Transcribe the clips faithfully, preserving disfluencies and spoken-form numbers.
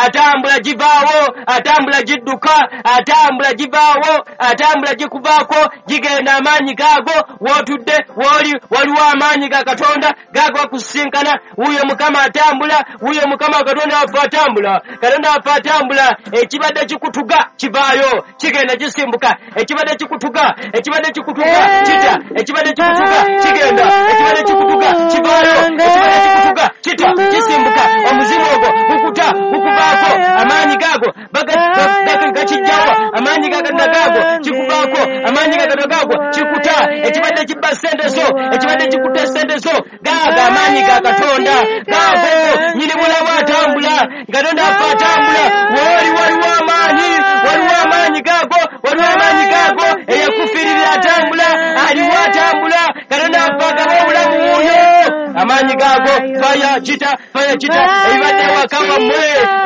Atambula givaawo, atambula gidduka, atambula givaawo, atambula gikuvaako, gigenda amaanyi gaago. W'otudde w'oli waliwo amaanyi ga Katonda gaago akusisinkana. Wuuyo Mukama atambula, wuuyo Mukama Katonda waffe atambula, Katonda waffe atambula. Ekibadde kikutuga kivaayo, kigenda kisimbuka. Ekibadde kikutuga, ekibadde kikutuga kita, ekibadde kikutuga kigenda, ekibadde kikutuga kivaayo, ekibadde kikutuga kita, kisimbuka. Omuzimu ogwo gukuta, gukuvaako, amaanyi gaago gakijjawo, amaanyi ga Katonda gaago kikuvaako, amaanyi ga Katonda gaago kikuta. Ekibadde kibba ssente zo, ekibadde kikuta ssente zo, gaago amaanyi ga Katonda gaago. Nnyini bulamu atambula, Katonda waffe atambula. Wooli waliwo amaanyi, waliwo amaanyi gaago, waliwo amaanyi gaago. Eyakufiirira atambula, aliwo atambula. Katonda waffe agaba obulamu wuuyo, amaanyi gaago. Faya kita, faya kita. Ebibadde ewaka wammwe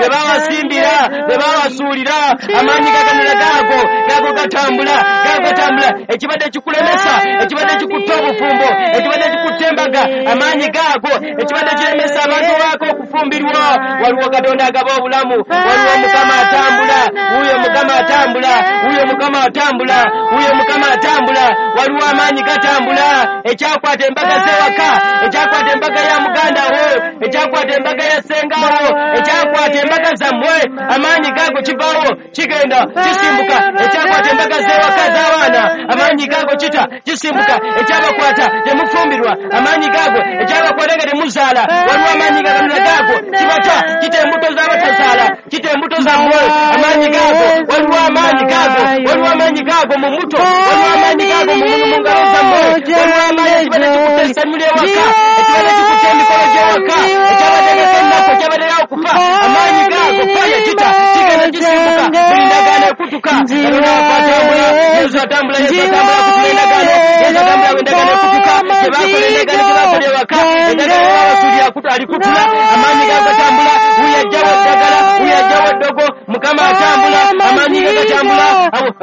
bye babasimbira, bye babasuulira, amaanyi ga Katonda gaago, gaago gatambula, gaago gatambula. Ekibadde kikulemesa, ekibadde kikutta obufumbo, ekibadde kikutta embaga, amaanyi gaago. Ekibadde kiremesa abantu baako okufumbirwa, waliwo Katonda agaba obulamu, waliwo Mukama atambula, wuuyo Mukama atambula, wuuyo Mukama atambula, wuuyo Mukama atambula. Waliwo amaanyi gatambula. Ekyakwata embaga z'ewaka, ekyakwata embaga ya muganda wo, ekyakwata embaga ya ssenga wo, ekyakwata embaga zammwe, amaanyi gaago kivaawo, kigenda kisimbuka. Ekyakwata embaga z'ewaka z'abaana, amaanyi gaago kita, kisimbuka. Ekyabakwata temufumbirwa, amaanyi gaago. Ekyabakwata nga temuzaala, waliwo amaanyi ga Katonda gaago kibata, kita embuto z'abatazaala, kita embuto zammwe, amaanyi gaago. Waliwo amaanyi gaago, waliwo amaanyi gaago mu muto, waliwo amaanyi gaago mu ngalo zammwe, waliwo amaanyi. Ekibadde kikutta essanyu ly'ewaka, ekibadde kikutta emikolo gy'ewaka, ekyabategeka ennaku, ekyabaddera okufa, amaanyi gaago. Faya kita, kigenda kisimbuka. Buli ndagaano ekutuka, Katonda waffe atambula. Yesu atambula, Yesu atambula kutula endagaano. Yesu atambula endagaano ekutuka. Gye bakola endagaano, gye bakola ewaka, endagaano babasuulira alikutula. Amaanyi gaago gatambula. Wuuyo ajjawo eddagala, wuuyo ajjawo eddogo. Mukama atambula, amaanyi ge gatambula,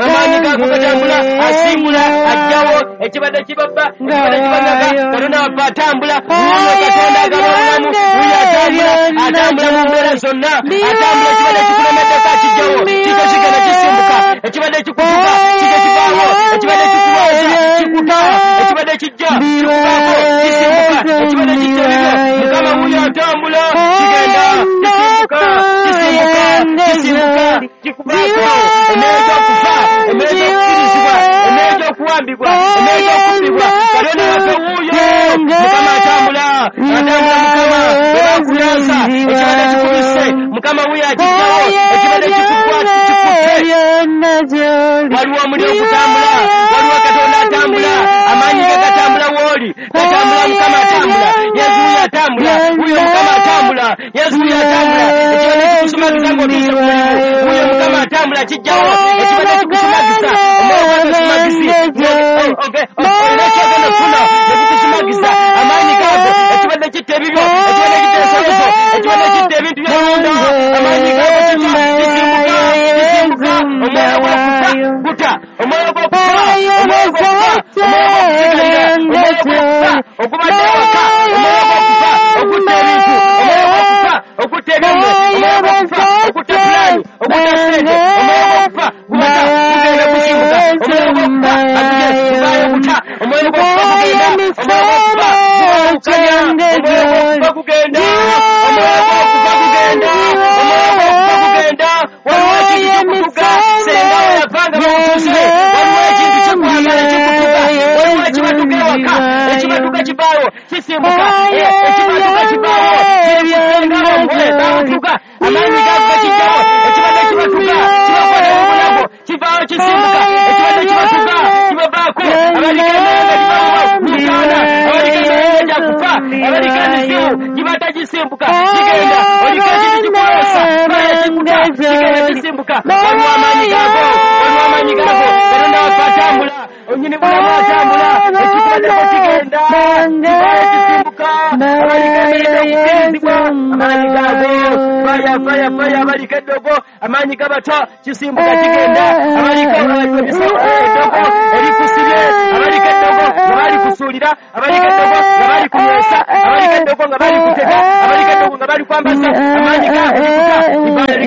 amaanyi gaago gatambula. Asimbula, ajjawo ekibadde kibabba, ekibadde kibanyaga. Katonda waffe atambula. Wuuyo Katonda agaba obulamu, wuuyo atambula, atambula mu mbeera zonna, atambula. Ekibadde kikulemeddeko akijjawo, kikyo kigenda kisimbuka. Ekibadde kikutuka kijja kivaawo, ekibadde kikulwaza kikuta, ekibadde kijja kikuvaako kisimbuka, ekibadde kijja ebibyo. Mukama wuuyo atambula, kigenda kisimbuka, kisimbuka, kisimbuka, kikuvaako. Emmeere gy'okufa, emmeere gy'okufirizibwa, emmeere gy'okuwambibwa, emmeere gy'okubbibwa, Katonda waffe wuuyo. Mukama atambula, atambula. Mukama bwe bakuloosa, ekibadde kikubise, Mukama wuuyo akijjawo. Ekibadde kikukwata kikutte, waliwo omuliro ogutambula, waliwo Katonda atambula, amaanyi ge gatambula. Wooli gatambula, Mukama atambula, Yesu wuuyo atambula, wuuyo Mukama atambula, Yesu wuuyo atambula. Ekibadde kikusumagiza ng'otuuse ku mulimu, wuuyo Mukama atambula, kijjawo. Ekibadde kikusumagiza, omwoyo gw'okusumagisi, olina kyogenda okufuna ne kukusumagiza, amaanyi gaago. Ekibadde kitta ebibyo, ekibadde kitta ensolo zo, ekibadde kitta ebintu by'olunda, amaanyi gaago kita, kisimbuka, kisimbuka. Omwoyo gw'okufa guta, omwoyo gw'okufa, omwoyo gw'okufa, omwoyo gw'okusigalira, omwoyo gw'okufa ogubadde ewaka, omwoyo gw'okufa ogutta ebintu, omwoyo gw'okufa ogutta ebyammwe, omwoyo gw'okufa ogutta pulaani, ogutta ssente, omwoyo gw'okufa gubata, gugenda gusimbuka. Omwoyo gw'okufa agugenda guvaayo guta, omwoyo gw'okufa gugenda, omwoyo gw'okufa gubawukanya, omwoyo gw'okufa gugenda, omwoyo gw'okufa gugenda, omwoyo gw'okufa gugenda. Waliwo ekintu kikutuka, senga we yavanga bamutuse. Waliwo ekintu kyekwagala kikutuka, waliwo ekibatuka ewaka, ekibatuka kivaawo kisimbuka, ekibatuka kivaawo kiri ku ssenga wammwe bamutuka, amaanyi gaago gakijjawo. Ekibadde kibatuka kibakwata mu bulago, kivaawo kisimbuka. Ekibadde kibatuka kibavaako. Abaliko emmeere gibaawo mutaana, abaliko emmeere gyakufa, abaliko emizimu gibata gisimbuka, kigenda. Oliko ekintu kikuloosa, faya kikuta, kigenda kisimbuka. Waliwo amaanyi gaago, waliwo amaanyi gaago. Katonda waffe atambula, onyini bulamu atambula. Ekikubaddeko kigenda, kivaayo kisimbuka. Abaliko emmeere gy'okufiirizibwa, amaanyi gaago faya, faya, faya. Abaliko eddogo, amaanyi gabata, kisimbuka, kigenda. Abaliko eddogo erikusibye, abaliko eddogo nga balikusuulira, abaliko eddogo nga balikunywesa, abaliko eddogo nga balikutega, abaliko eddogo nga balikwambaza, amaanyi gaago kikuta, kivaayo.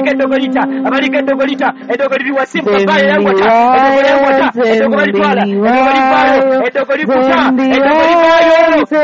Abaliko eddogo lita, abaliko eddogo lita, eddogo liri wasimbuka vayo yangwata, eddogo yangwata, eddogo balitwala, eddogo livaayo, eddogo likuta, eddogo livaayo,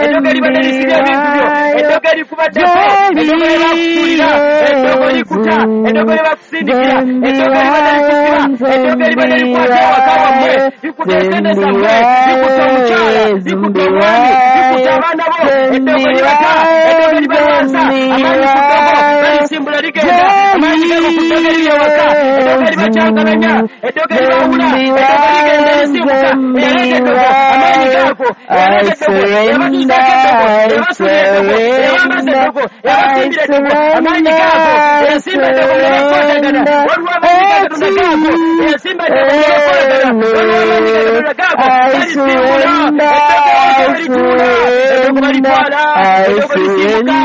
eddogo libadde lisibye ebintu byo, eddogo erikubaddeko, eddogo lyebakusuulira, eddogo likuta, eddogo lyebakusindikira, eddogo libadde likusiba, eddogo libadde likwata ewaka wammwe, likuta esente zammwe, likuta omukyala, likuta omwami, likuta abaana bo, eddogo libata, eddogo libalwaza, amaanyi ku ddogo balisimbula ligenda, amaanyi gago ku ddogo eriri ewaka, eddogo eribakyankalanya, eddogo eribawula, eddogo ligenda lisimbuka, eyaleeta eddogo, amaanyi gaago, eyaleeta eddogo, eyabatuusaako eddogo, eyabasuulira eddogo, eyabambaza eddogo, eyabasimbira eddogo, amaanyi gaago, eyasimba eddogo ne bakwatagana, waliwo amaanyi ga Katonda gaago, eyasimba eddogo ne bakwatagana, waliwo amaanyi ga Katonda gaago, balisimbula, eddogo lituula, eddogo balitwala, eddogo lisimbuka,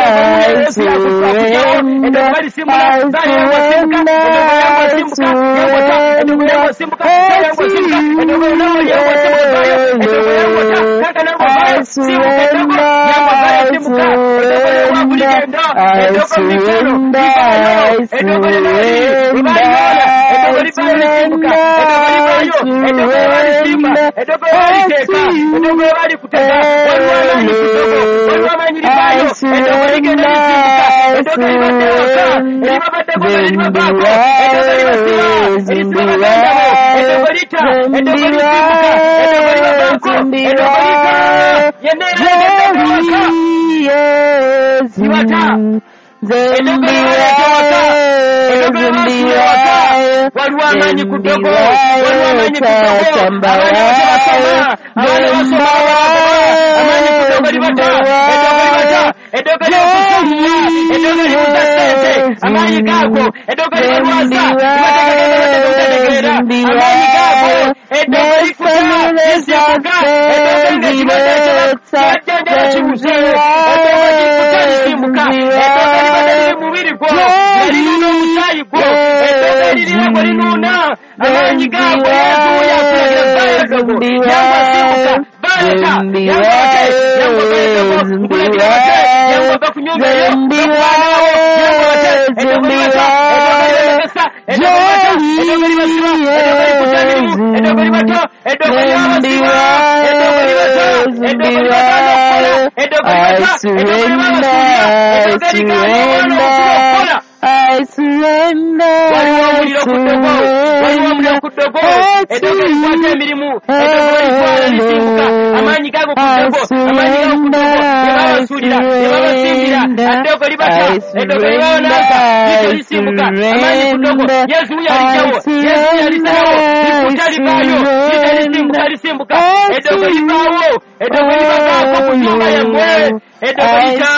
eddogo Yesu yakujawo, eddogo balisimbula, bali yangu asimbuka, eddogo yangu asimbuka, yangu ata, eddogo yangu asimbuka, yangu asimbuka, eddogo yangu yangu asimbuka vayo, eddogo yangu ata, kaka nangu vayo, simbuka eddogo, yangu vayo simbuka, eddogo yangu ligenda, eddogo mikono, livayo, eddogo linali, livayola, eddogo livayo lisimbuka, eddogo livayo, eddogo balisimba, eddogo baliteeka, eddogo balikutega, waliwo amaanyi ku ddogo, waliwo amaanyi livayo, eddogo ligenda lisimbuka, eddogo libadde ewaka, eribabaddeko nga liribavaako, eddogo libasiba, erisiba baganda bo, eddogo lita, eddogo lisimbuka, eddogo libavaako, eddogo lita, yenna eraleeta eddogo ewaka, libata, eddogo libaleeta ewaka, eddogo libasuula ewaka, waliwo amaanyi ku ddogo, waliwo amaanyi ku ddogo, abaana bakyabasoma, abaana basoma babagoba, amaanyi ku ddogo libata, eddogo libata, eddogo lyakusumula, eddogo libuza ssente, amaanyi gaago, eddogo libalwaza, libategeera, amaanyi gaago, eddogo likuta, lisimbuka, eddogo nga kibadde kibajjanjaba kibuze, eddogo likuta lisimbuka, eddogo libadde liri mu mubiri gwo, nga linuuna omusaayi gwo, eddogo eririra gwe linuuna, amaanyi gaago, Yesu yakulagira vaayo eddogo, yangu asimbuka, vaayo ta, yangu ate, yangu vaayo eddogo, nkulagira bate, yangu ava ku nnyumba eyo, n'okubaana bo, yangu bate, eddogo libata, eddogo libalemesa, eddogo libata, eddogo libasiba, eddogo likuta emirimu, eddogo libata, eddogo lyabasiba, eddogo libata, eddogo libagaana okukola, eddogo libata, eddogo libabasuulira, eddogo erigaana omwana omukulu okukola. I surrender. Waliwo omuliro ku ddogo, waliwo omuliro ku ddogo, eddogo erikwata emirimu, eddogo balitwala lisimbuka, amaanyi gago ku ddogo, amaanyi gago ku ddogo, ne babasuulira, ne babasimbira, eddogo libata, eddogo libawananza, lito lisimbuka, amaanyi ku ddogo, Yesu wuyo alijjawo, Yesu wuyo alisalawo, likuta livaayo, lita lisimbuka, lisimbuka, eddogo livaawo, eddogo libavaako ku nnyumba yammwe, eddogo lita,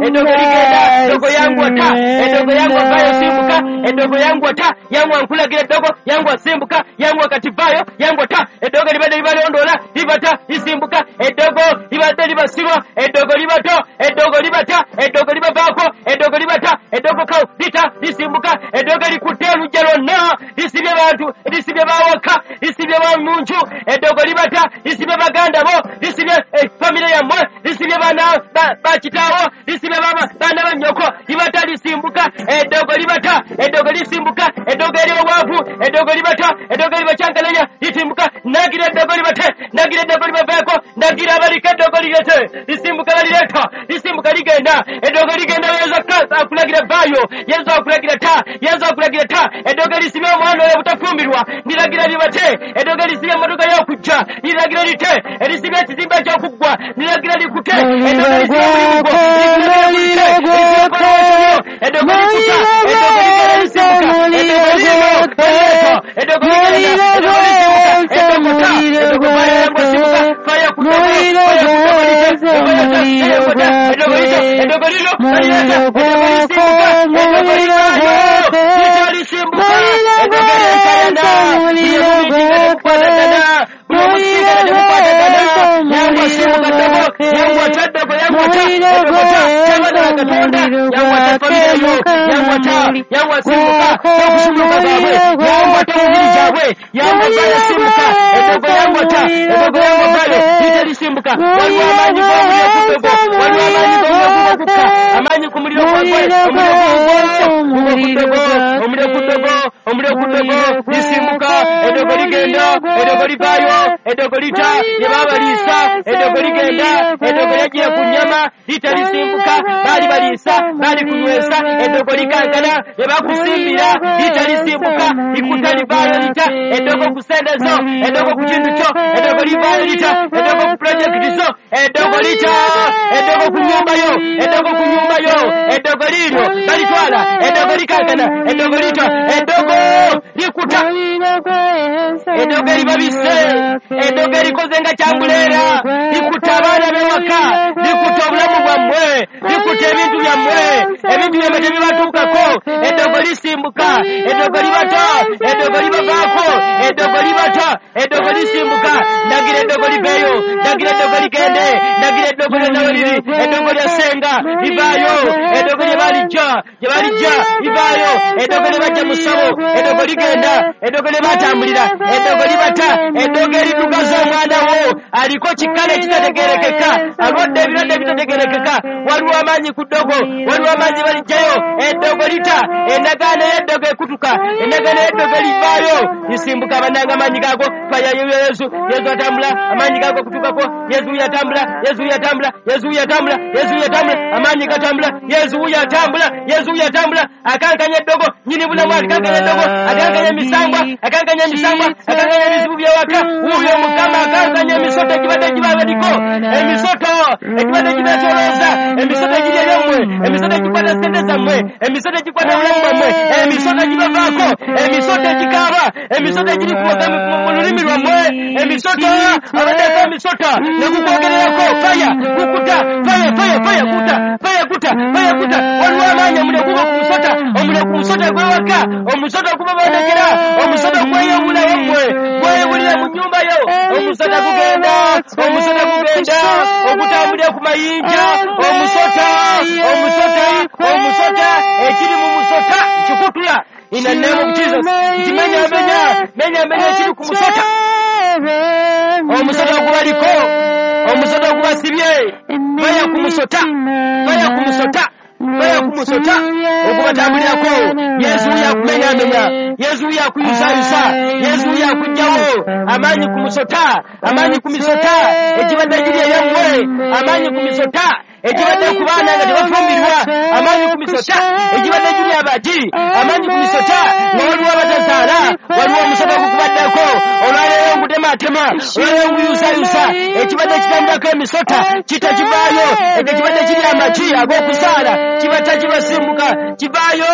eddogo ligenda, eddogo yangu ata, eddogo yangu avayo simbuka, eddogo yangu ata, yangu ankulagira eddogo, yangu asimbuka, yangu akati vaayo, yangu ata, eddogo libadde libalondoola, libata, lisimbuka, eddogo libadde libasibwa, eddogo libato, eddogo libata, eddogo libavaako, eddogo libata, eddogo kawo lita, lisimbuka, eddogo likutte oluggya lwonna, lisibye bantu, lisibye bawaka, lisibye bamuntu, eddogo libata, lisibye baganda bo, lisibye famire yammwe, lisibye baana bakitaawo, lisibye baana ba nnyoko, libata lisimbuka, eddogo libata, eddogo lisimbuka, eddogo eri obwavu, eddogo libata, eddogo libakyankalanya, lisimbuka, nagira eddogo libate, nagira eddogo libaveeko, nagira abaliko eddogo lirete, lisimbuka balireeta, lisimbuka ligenda, eddogo ligenda, Yesu akulagira vaayo, Yesu akulagira ta, Yesu akulagira ta, eddogo lisibye omwana oyo obutafumbirwa, niragira libate, eddogo lisibye emmotoka y'okujja, niragira lite, erisibye ekizimbe eky'okuggwa, niragira likute, eddogo lisibye omulimu gwo, niragira lite, lisibye ekkolero, eddogo likuta, eddogo ligenda lisimbuka, eddogo lirimo, lireeta, eddogo ligenda, eddogo lisimbuka, eddogo ta, eddogo vaayo yangu asimbuka, faayo ku ddogo, faayo ku ddogo lite, eddogo ta, eddogo ta, eddogo lite, eddogo lino, balireeta, eddogo lisimbuka, eddogo livaayo, lita lisimbuka, eddogo lyenkayana, liri mu mitinga tekukwatagana, buli omusinga tekukwatagana, yangu asimbuka ddogo, yangu ata ddogo, yangu ata, eddogo ta, ky'abaana ba Katonda, yangu ata famire yo, yangu ata, yangu asimbuka, tokusumuluka baabwe, yangu ata mubiri gyabwe, yangu avaayo asimbuka, eddogo yangu ata, eddogo yangu avaayo, lita lisimbuka, waliwo amaanyi g'omuliro ku ddogo, waliwo amaanyi g'omuliro gugwo gukka, amaanyi ku muliro gwagwe, omuliro gugwo, gugwo ku ddogo, Eddogo ku ddogo lisimbuka, eddogo ligenda, eddogo livaayo, eddogo lita lye baabaliisa, eddogo ligenda, eddogo lyajjira ku nnyama, lita lisimbuka, baali baliisa, baali kunywesa, eddogo likankana, lye bakusimbira, lita lisimbuka, likuta livaayo lita, eddogo ku ssente zo, eddogo ku kintu kyo, eddogo livaayo lita, eddogo ku pulojekiti zo, eddogo lita, eddogo ku nnyumba yo, eddogo ku nnyumba yo, eddogo liiryo balitwala, eddogo likankana, eddogo lita, eddogo likuta, eddogo eribabise, eddogo erikoze nga kyambuleera, likuta abaana b'ewaka, likuta obulamu bwammwe, likuta ebintu byammwe, ebintu byammwe tebibatuukako, eddogo lisimbuka, eddogo libata, eddogo libavaako, eddogo libata, eddogo lisimbuka, ndagira eddogo liveeyo, ndagira eddogo ligende, ndagira eddogo lyonna we liri, eddogo lya ssenga livaayo, eddogo lye balijja, gye balijja livaayo, eddogo lye bajja mu ssabo, eddogo ligenda, eddogo lye batambulira, eddogo libata, eddogo eriddugaza omwana wo aliko kikale ekitategeerekeka, alwadde ebirwadde ebitategeerekeka, waliwo amaanyi ku ddogo, waliwo amaanyi balijjayo, eddogo lita, endagaano y'eddogo ekutuka, endagaano y'eddogo livaayo, lisimbuka bannange amaanyi gaago, fayayo Yesu, Yesu atambula, amaanyi gaago kutukako, Yesu yatambula, Yesu yatambula, Yesu yatambula, Yesu yatambula, amaanyi gatambula, Yesu yatambula, Yesu yatambula, akankanya eddogo, nnyini bulamu akankanya eddogo, akankanya emisambwa, akankanya emisambwa, akankanya ebizibu by'ewaka, wuuyo Mukama akankanya emisota egibadde gibabaliko, emisoto egibadde gibeetoolooza, emisoto egiri eryammwe, emisoto egikwata ssente zammwe, emisoto egikwata obulamu bwammwe, emisoto egibavaako, emisoto egikaaba, emisoto egiri mu lulimi lwammwe, emisoto abaddeko emisota ne gukwogererako, faya gukuta, faya faya faya kuta, faya kuta, faya kuta, waliwo amaanyi omuliro guba ku musota, omuliro ku musota gw'ewaka, omusota gubabonekera, omusota gweyewula wammwe, gweyewulira mu nnyumba yo, omusota gugenda, omusota gugenda, ogutambulira ku mayinja, omusota, omusota, omusota, ekiri mu musota nkikutula, in the name of Jesus, nkimenya menya, menya menya ekiri ku musota, omusota ogubaliko, omusota ogubasibye, faya ku musota, faya ku musota, faya ku musota, ogubatambulirako, Yesu yakumenyamenya, Yesu yakuyusayusa, Yesu yakugjawo, amaanyi ku musota, amaanyi ku misota, ekibadde giri eyammwe, amaanyi ku misota, ekibadde ku baana nga tebafumbirwa, amaanyi ku misota, ekibadde giri abagi, amaanyi ku misota, nga waliwo abatazaala, waliwo omusota ogukubaddeko, olwaleero ngutematema, olwaleero nguyusayusa, ekibadde kitambulako emisota, kita kivaayo, ekyo kibadde kiri amagi ag'okusaala, kibata kibasimbuka, kivaayo,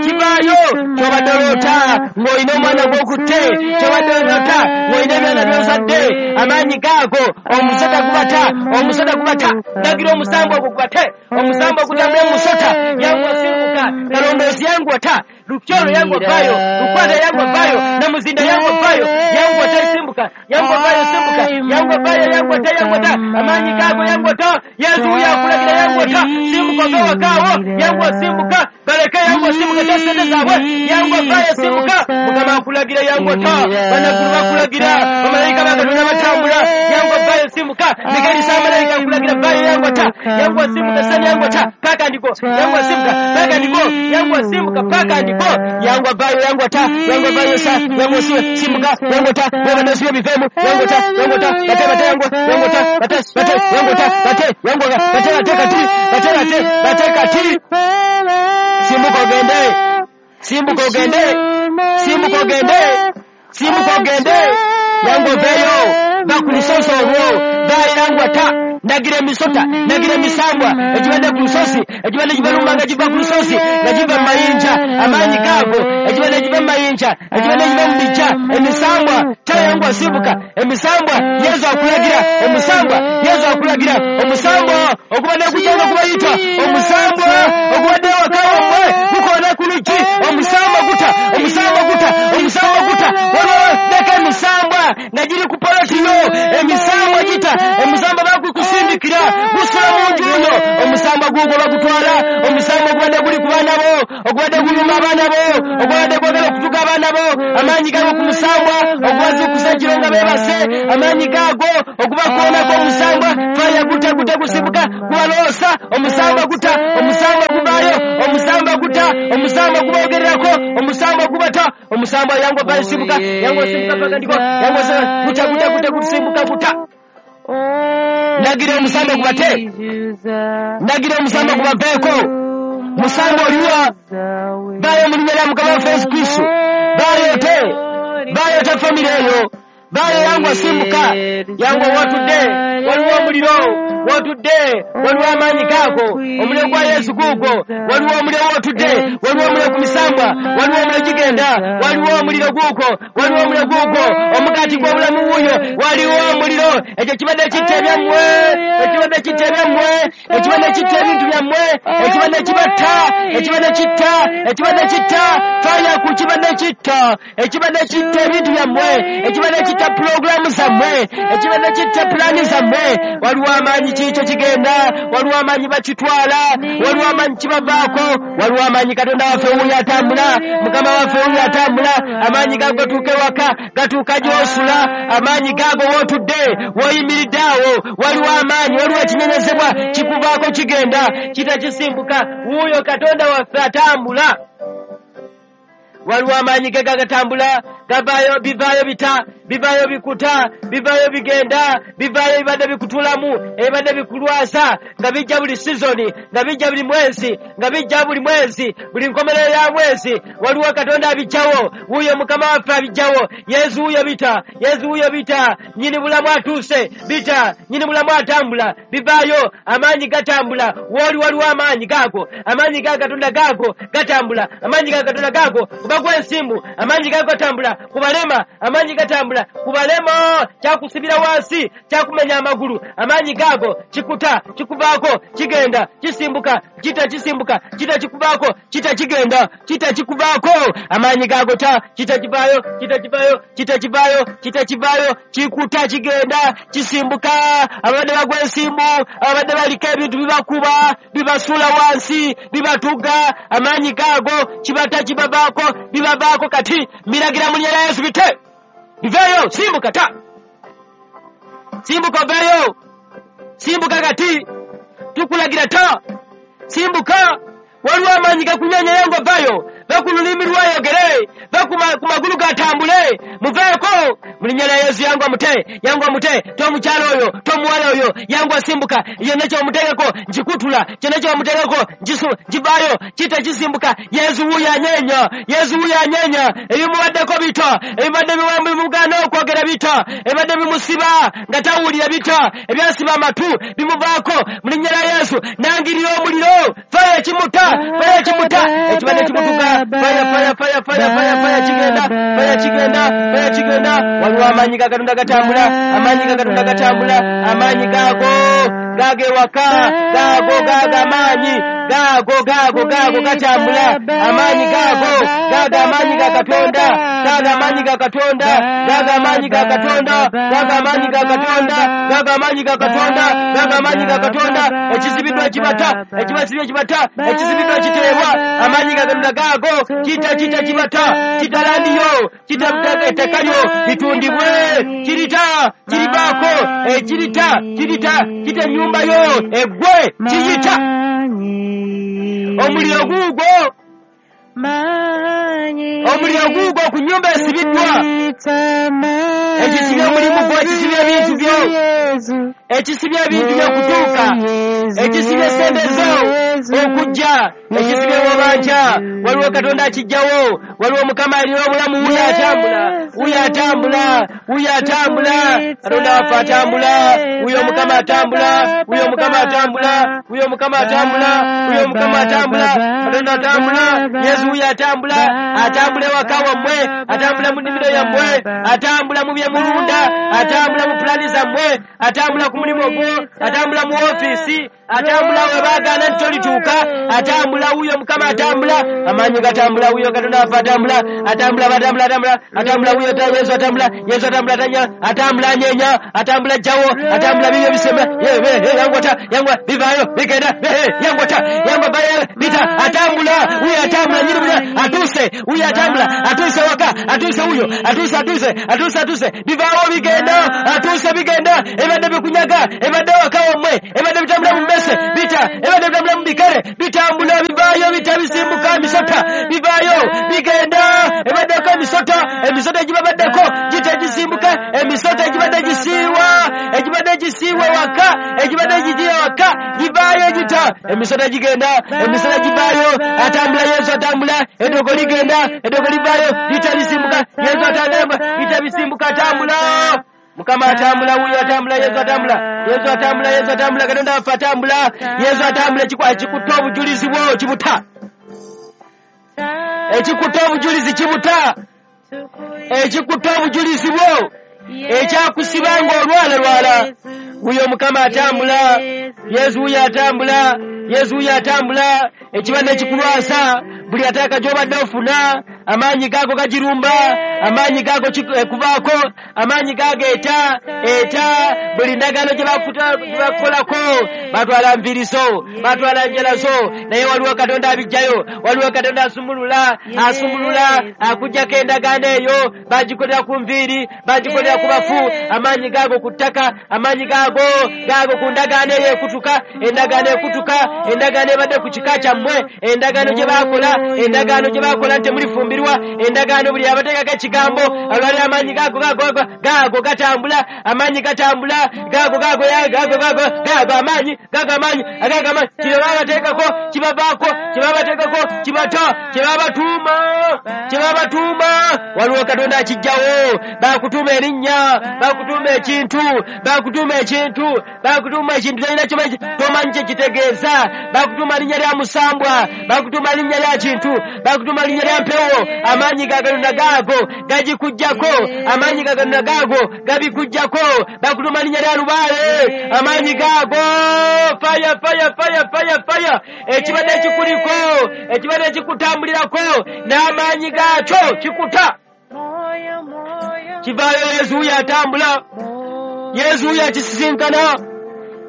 kivaayo, kyobadde oloota ng'olina omwana gw'okutte, kyobadde oloota ng'olina ebyana by'ozadde, amaanyi gaago, omusota gubata, omusota gubata, ndagira omusambu ogwo gubate, omusambu ogutambula mu musota, yangu asimbuka, kalondoozi yangu ata, lukyolo yangu avaayo, lukwata yangu avaayo, namuzinda yangu avaayo, yangu ata simbuka, yangu avaayo simbuka, yangu avaayo, yangu ata, yangu ata, amaanyi gaago yangu ata, Yesu yakulagira yangu ata, simbuka ove wakaawo, yangu asimbuka, baleke yangu asimbuka ta ssente zaabwe, yangu avaayo simbuka, Mukama akulagira yangu ata, bannagulu bakulagira, bamalayika ba Katonda batambula, yangu avaayo simbuka, Mikaeli samalayika akulagira vaayo yangu ata, yangu asimbuka sani yangu ata, paka ndiko, yangu asimbuka, paka ndiko, yangu asimbuka, paka ndiko, yangu avaayo yangu ata, yangu avaayo sa, yangu simbuka, yangu ata, yangu nasiyo bivemu, yangu ata, yangu ata, bate bate yangu, yangu ata, bate bate yangu ata, bate yangu bate bate kati, bate bate bate kati, simbuka ogende, simbuka ogende, simbuka ogende, simbuka ogende, yangu oveeyo, va ku lusozi olwo, vaayo yangu ata, ndagira emisota, ndagira emisambwa, ekibadde ku lusozi, ekibadde kibalumba nga kiva ku lusozi, nga kiva mu mayinja, amaanyi gaago, ekibadde kiva mu mayinja, ekibadde kiva mu bijja, emisambwa, tayangu asimbuka, emisambwa, Yesu akulagira, omusambwa, Yesu akulagira, omusambwa, ogubadde gujja nga gubayita, omusambwa, ogubadde ewaka wammwe, gukoona ku luggi, omusambwa guta, omusambwa guta, omusambwa guta, waliwo leka emisambwa nga giri ku poloti yo, emisambwa gita, omusambwa bagukusindikira, gusula mu nju yo, omusambwa gugwo bagutwala, omusambwa ogubadde guli ku baana bo, ogubadde guluma abaana bo, ogubadde gwagala okutuga abaana bo, amaanyi gago ku musambwa, ogubazuukusa ekiro nga beebase, amaanyi gaago ogubakoonako omusambwa, faya guta guta gusimbuka, gubaloosa, omusambwa guta, omusambwa guvaayo, omusambwa guta, omusambwa guboogererako, omusambwa gubata, Omusambwa yangu vayo simbuka, yangu simbuka paka ndiko, yangu simbuka kuta kuta kuta kusimbuka kuta. Ndagira omusambwa gubate, ndagira omusambwa gubaveeko. Musambwa oliwa vayo mu linnya lya Mukama waffe Yesu Kristo, vayo te, vayo te famire eyo, vayo yangu simbuka, yangu watudde, waliwo omuliro, wotudde, waliwo amaanyi gaako, omuliro gwa Yesu guugwo, waliwo omuliro wotudde, waliwo omuliro ku misambwa, waliwo omuliro gigenda, waliwo omuliro guugwo, waliwo omuliro guugwo, omugaati gw'obulamu wuuyo, waliwo omuliro, ekyo kibadde kitta ebyammwe, ekibadde kitta ebyammwe, ekibadde kitta ebintu byammwe, ekibadde kibatta, ekibadde kitta, ekibadde kitta, faya ku kibadde kitta, ekibadde kitta ebintu byammwe, ekibadde kitta pulogulaamu zammwe, ekibadde kitta pulaani zammwe, waliwo amaanyi kikyo kigenda, waliwo amaanyi bakitwala, waliwo amaanyi kibavaako, waliwo amaanyi Katonda waffe wuuyo atambula, Mukama waffe wuuyo atambula, amaanyi gago gatuuka ewaka, gatuuka gy'osula, amaanyi gago w'otudde, w'oyimiridde awo, waliwo amaanyi, waliwo ekinyenyezebwa kikuvaako kigenda, kitakisimbuka, wuuyo Katonda waffe atambula. Waliwo amaanyi ge gagatambula, gavaayo, bivaayo bita, bivaayo bikuta, bivaayo bigenda, bivaayo bibadde bikutulamu, ebibadde bikulwasa, nga bijja buli sizoni, nga bijja buli mwezi, nga bijja buli mwezi, buli nkomerero ya mwezi, waliwo Katonda abijjawo, wuuyo Mukama waffe abijjawo, Yesu wuuyo bita, Yesu wuuyo bita, nnyini bulamu atuuse, bita, nnyini bulamu atambula, bivaayo, amaanyi gatambula, wooli waliwo amaanyi gaago, amaanyi ga Katonda gaago, gatambula, amaanyi ga Katonda gaago, kubagwa ensimbu, amaanyi gago gatambula, kubalema, amaanyi gatambula, kubalema, kyakusibira wansi, kyakumenya amagulu, amaanyi gago, kikuta, kikuvaako, kigenda, kisimbuka, kita kisimbuka, kita kikuvaako, kita kigenda, kita kikuvaako, amaanyi gago ta, kita kivaayo, kita kivaayo, kita kivaayo, kita kivaayo, kikuta kigenda, kisimbuka, abadde bagwa ensimbu, abadde baliko ebintu bibakuba, bibasuula wansi, bibatuga, amaanyi gago, kibata kibavaako, bibavaako kati, miragira mu linnya lya Yesu bite, biveeyo, simbuka ta, simbuka oveeyo, simbuka kati, tukulagira ta, simbuka, waliwo amaanyi gakunyenyeyo ng'ovaayo, va ku lulimi lwayogere, va ku magulu gatambule, muveeko mu linnya lya Yesu. Yangu amute, yangu amute, tomukyala oyo, tomuwala oyo, yangu asimbuka, yonna kyomuteekako nkikutula, kyonna kyomuteekako nkivaayo, kita kisimbuka. Yesu wuuyo anyeenya, Yesu wuuyo anyeenya, ebimubaddeko bita, ebibadde bimugaana okwogera bita, ebibadde bimusiba nga tawulira bita, ebyasiba amatu bimuvaako mu linnya lya Yesu. Nangirira omuliro, faya ekimuta, faya ekimuta, ekibadde kimutuka, faya faya faya faya faya faya kigenda, faya kigenda, faya kigenda. Waliwo amaanyi ga Katonda gatambula, amaanyi ga Katonda gatambula, amaanyi gago gago ewaka, gago gago amaanyi gago gago gago gatambula, amaanyi gago gago amaanyi ga Katonda, gago amaanyi ga Katonda, gago amaanyi ga Katonda, gago amaanyi ga Katonda, gago amaanyi ga Katonda, gago amaanyi ga Katonda. Ekizibiddwa ekibata, ekibasibye ekibata, ekizibiddwa ekiteebwa, amaanyi ga Katonda gago kita kita kibata, kita landiyo, kita ettaka lyo litundibwe, kirita kirivaako, ekirita kirita kita ennyumba yo eggwe, kiyita omuliro guugwo, omuliro guugwo ku nnyumba esibiddwa, ekisibye omulimu gwo, ekisibye ebintu byo, ekisibye ebintu byo okutuuka, ekisibye sente zo okujja, ekisibye wobanja. Waliwo Katonda akijjawo, waliwo Mukama alina obulamu, wuuyo atambula, wuuyo atambula, wuuyo atambula, Katonda waffe atambula, wuuyo Mukama atambula, wuuyo Mukama atambula, wuuyo Mukama atambula, wuuyo Mukama atambula, Katonda atambula, Yesu wuuyo atambula, atambula ewaka wammwe, atambula mu nnimiro yammwe, atambula mu bye mulunda, atambula mu pulaani zammwe, atambula ku mulimu gwo, atambula mu ofiisi, atambula we baagaana nti tolituuka, atambula wuuyo Mukama atambula, amaanyi gatambula, wuuyo Katonda waffe atambula, atambula batambula atambula, atambula wuuyo Yesu atambula, Yesu atambula atanya, atambula anyeenya, atambula ajjawo, atambula bibyo bisema, yangwata, yangwa bivaayo bigenda, yangwata, yangwa vayo bita, atambula wuuyo atambula, nyini bulya atuuse, wuuyo atambula, atuuse waka, atuuse wuuyo, atuuse atuuse, atuuse atuuse, bivaawo bigenda, atuuse bigenda, ebadde bikunyaga, ebadde waka wammwe, ebadde bitambula mu mmese, bita, ebadde bitambula mu bikere, bitambula bivaayo, bita bisimbuka emisota, bivaayo bigenda, ebaddeko emisota. Emisota gigenda, emisota givaayo, atambula Yesu atambula, eddogo ligenda, eddogo livaayo, lita lisimbuka, Yesu atambula, lita bisimbuka, atambula. Mukama atambula, wuyo atambula, Yesu atambula, Yesu atambula, Yesu atambula, Katonda waffe atambula, Yesu atambula. Ekikwa ekikutte obujulizi bwo kibuta, ekikutte obujulizi kibuta, ekikutte obujulizi bwo ekyakusiba ng'olwala lwala. Wuyo Mukama atambula, Yesu wuyo atambula, Yesu wuyo atambula. Ekibadde kikulwasa buli ateeka gy'obadde ofuna, amaanyi gaago gagirumba, amaanyi gaago kuvaako, amaanyi gaago eta eta buli ndagaano gye bakukolako. Batwala nviiriso, batwala njalazo, naye waliwo Katonda abijjayo, waliwo Katonda asumulula, asumulula akuggyako endagaano eyo. Bagikolera ku nviiri, bagikolera ku bafu, amaanyi gaago ku ttaka, amaanyi gaago gaago ku ndagaano eyo ekutuka, endagaano ekutuka, endagaano ebadde ku kika kyammwe, endagaano gye bakola, endagaano gye bakola nti mulifumbirwa, endagaano buli abateekako ekigambo alwali. Amaanyi gaago gaago gaago gatambula, amaanyi gatambula, gaago gaago gaago gaago gaago amaanyi gaago amaanyi agaago amaanyi. Kye babateekako kibavaako, kye babateekako kibata, kye babatuuma kye babatuuma waliwo Katonda akijjawo. Bakutuuma erinnya, bakutuuma ekintu, bakutuuma ekintu, bakutuuma ekintu tolina kimanyi, tomanyi kye kitegeeza. Bakutuuma linnya lya musambwa, bakutuuma linnya lya kintu, bakutuuma linnya lya mpewo. Amaanyi ga Katonda gaago gagikuggyako, amaanyi ga Katonda gaago gabikuggyako. Bakutuuma linnya lya lubaale, amaanyi gaago faya faya faya faya faya. Ekibadde kikuliko, ekibadde kikutambulirako n'amaanyi gaakyo kikuta, kivaayo. Yesu wuyo atambula, Yesu wuyo akisisinkana,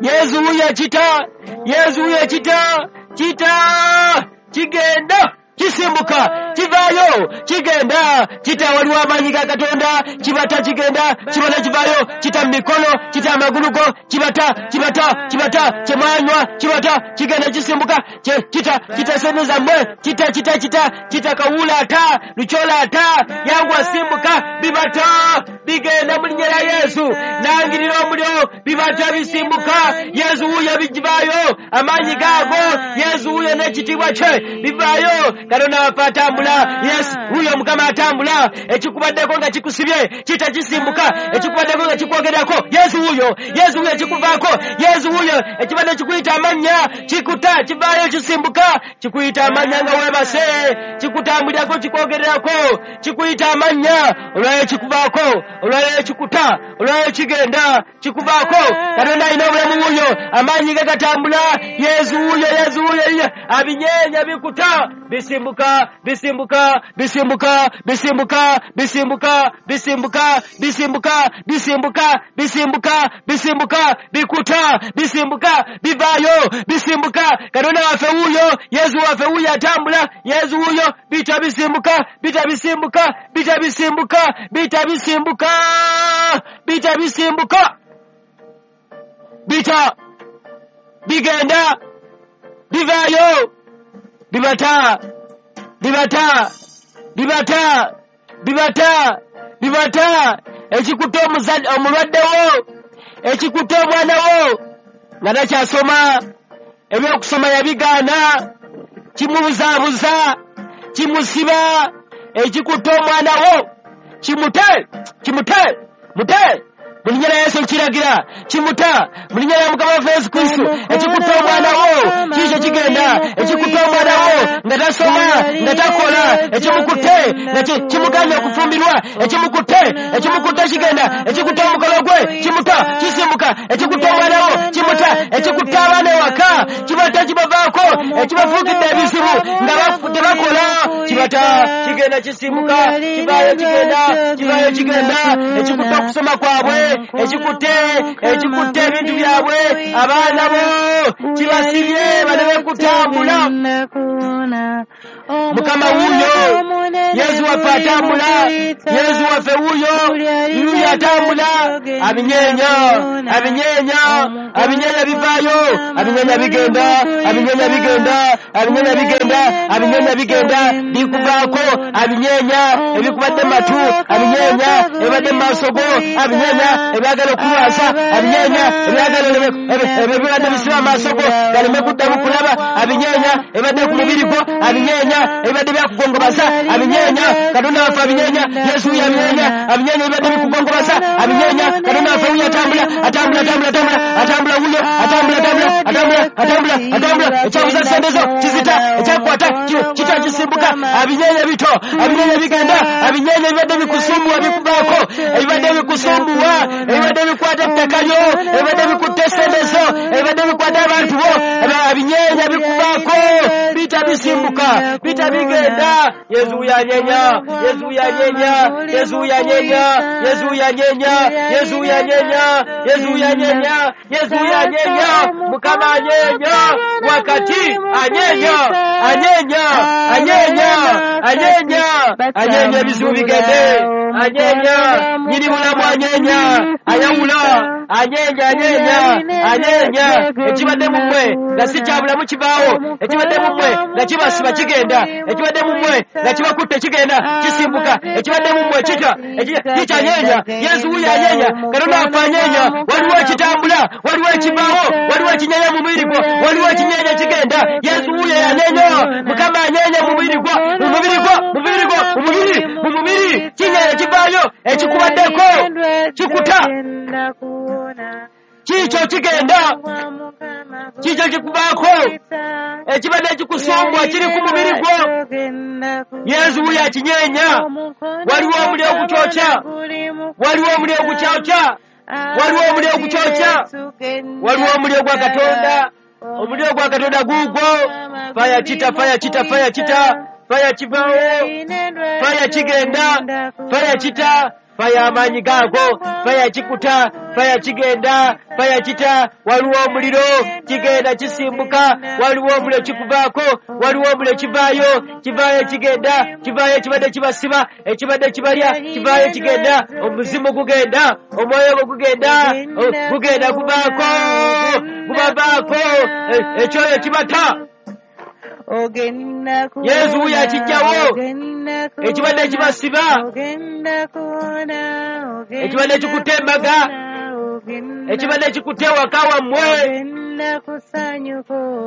Yesu wuyo akita, Yesu wuyo kita kita, kigenda kisimbuka, kivaayo, kigenda kita. Waliwo amaanyi ga Katonda kibata, kigenda kibata, kivaayo, kita mu mikono, kita amagulu go, kibata kibata kibata kyemwanywa kibata, kigenda kisimbuka, kita kita sente zammwe, kita kita kita kita kawuula ata lukyola ata yangu asimbuka, bibata bigenda mu linnya lya Yesu. Nangirira omuliro, bibata bisimbuka. Yesu wuyo bigivaayo, amaanyi gaago, Yesu wuyo n'ekitiibwa kye bivaayo. Katonda waffe atambula, Yesu wuyo Mukama atambula. Ekikubaddeko nga kikusibye kita kisimbuka, ekikubaddeko nga kikwogerako Yesu wuyo, Yesu wuyo kikuvaako, Yesu wuyo. Ekibadde kikuyita amannya kikuta, kivaayo, kisimbuka. Kikuyita amannya nga weebase, kikutambulirako, kikwogererako, kikuyita amannya, olwayo kikuvaako, olwayo kikuta, olwayo kigenda kikuvaako. Katonda alina obulamu wuyo, amaanyi ge gatambula. Yesu wuyo, Yesu wuyo abinyeenya bikuta, bisimbuka bisimbuka bisimbuka bisimbuka bisimbuka bisimbuka bisimbuka bisimbuka bisimbuka bisimbuka, bikuta, bisimbuka, bivaayo, bisimbuka. Katonda waffe wuyo, Yesu waffe wuyo atambula, Yesu wuyo. Bita bisimbuka, bita bisimbuka, bita bisimbuka, bita bisimbuka, bita bisimbuka, bita bigenda bivaayo, bibata bibata bibata bibata bibata. Ekikutte omulwadde wo, ekikutte omwana wo nga takyasoma, ebyokusoma yabigaana, kimubuzaabuza, kimusiba. Ekikutte omwana wo kimute, kimute, mute mu linnya lya Yesu nkiragira, kimuta mu linnya lya Mukama waffe Yesu Kristo. Ekikutte omwana wo kiikyo kigenda. Ekikutte omwana wo nga tasoma, nga takola, ekimukutte nga kimuganya okufumbirwa, ekimukutte ekimukutte kigenda. Ekikutte omukolo gwe kimuta, kisimbuka. Ekikutte omwana wo kimuta. Ekikutte abaana ewaka kibata, kibavaako. Ekibafuukidde ebizibu nga tebakola kibata, kigenda, kisimbuka, kivaayo, kigenda, kivaayo, kigenda. Ekikutte okusoma kwabwe, ekikutte ekikutte ebintu byabwe, abaana bo kibasibye baleme kutambula. Mukama wuuyo, Yesu waffe atambula, Yesu waffe wuuyo, wuuyo atambula, abinyeenya, abinyeenya, abinyeenya bivaayo, abinyeenya bigenda, abinyeenya bigenda, abinyeenya bigenda, abinyeenya bigenda, bikuvaako, abinyeenya ebikubadde mu matu, abinyeenya ebibadde mu maaso go, abinyeenya ebyagala okulwasa, abinyeenya ebyagala ebibadde bisiba amaaso go galeme kuddamu kulaba, abinyeenya ebibadde ku mubiri gwo, abinyeenya ebibadde byakugongobaza, abinyeenya Katonda waffe abinyeenya, Yesu wuuyo abinyeenya, abinyeenya ebibadde bikugongobaza, abinyeenya Katonda waffe wuuyo atambula, atambula, atambula, atambula, atambula wuuyo, atambula, atambula, atambula, atambula, atambula, ekyabuza sente zo kizita, ekyakukwata kita kisimbuka, abinyeenya bito, abinyeenya bigenda, abinyeenya ebibadde bikusumbuwa bikuvaako, ebibadde bikusumbuwa, ebibadde bikwata ettaka lyo, ebibadde bikutte sente zo, ebibadde bikwata abantu bo, abinyeenya bikuvaako, bita bisimbuka, bita bigenda. Yesu wuuyo anyeenya, Yesu wuuyo anyeenya, Yesu wuuyo anyeenya, Yesu wuuyo anyeenya, Yesu wuuyo anyeenya, Yesu wuuyo anyeenya, Yesu wuuyo anyeenya, Mukama anyeenya, wakati anyeenya, anyeenya, anyeenya, anyeenya, anyeenya ebizibu bigende, anyeenya, nyini bulamu anyeenya, ayawula, anyeenya, anyeenya, anyeenya, ekibadde mu mmwe nga si kya bulamu kibaawo, ekibadde mu mmwe nga kibasiba kigenda, ekibadde mu mmwe nga kibakutte kigenda kisimbuka, ekibadde mu mmwe kita kikyanyeenya. Yesu wuuyo anyeenya, Katonda waffe anyeenya, waliwo ekitambula, waliwo ekibaawo, waliwo ekinyeenya mu mubiri gwo, waliwo ekinyeenya kigenda. Yesu wuuyo yanyeenya, Mukama anyeenya mu mubiri gwo, mu mubiri gwo, mu mubiri gwo, mu mubiri, mu mubiri, kinyeenya kivaayo, ekikubaddeko kikuta, kiikyo kigenda, kiikyo kikuvaako, ekibadde kikusumbwa kiri ku mubiri gwo. Yesu wuuyo akinyeenya, waliwo omuliro ogukyokya, waliwo omuliro ogukyokya, waliwo omuliro ogukyokya, waliwo omuliro gwa Katonda, omuliro gwa Katonda guugwo. Faya kita, faya kita, faya kita, faya kivaawo, faya kigenda, faya kita, faya amaanyi gaago, faya kikuta, faya kigenda, faya kita, waliwo omuliro kigenda kisimbuka, waliwo omuliro kikuvaako, waliwo omuliro kivaayo, kivaayo kigenda, kivaayo ekibadde kibasiba, ekibadde kibalya, kivaayo kigenda, omuzimu gugenda, omwoyo gwo gugenda, gugenda guvaako, gubavaako, ekyoyo kibata. Yesu wuuyo akijjawo, ekibadde kibasiba, ekibadde kikutte embaga, ekibadde kikutte ewaka wammwe,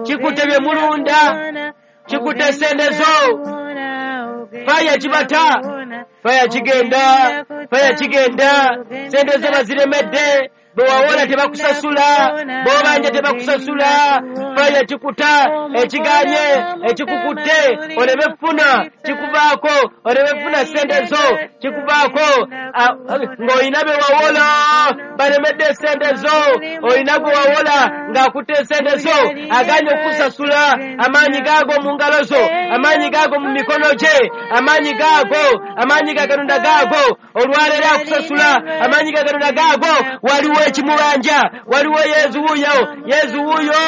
kikutte bye mulunda, kikutte sente zo, faya kibata, faya kigenda, faya kigenda, sente zo baziremedde, bwe tebakusasula, bw'obanja tebakusasula, faya kikuta, ekiganye, ekikukutte, oleme kufuna, kikuvaako, oleme kufuna sente zo, kikuvaako, ng'olina be wawola, balemedde sente zo, olina gwe wawola ng'akutte sente zo, aganye okukusasula, amaanyi gaago mu ngalo zo, amaanyi gaago mu mikono gye, amaanyi gaago, amaanyi ga Katonda gaago, olwaleero akusasula, amaanyi ga Katonda gaago, waliwo ekimubanja, waliwo Yesu wuuyo, Yesu wuuyo,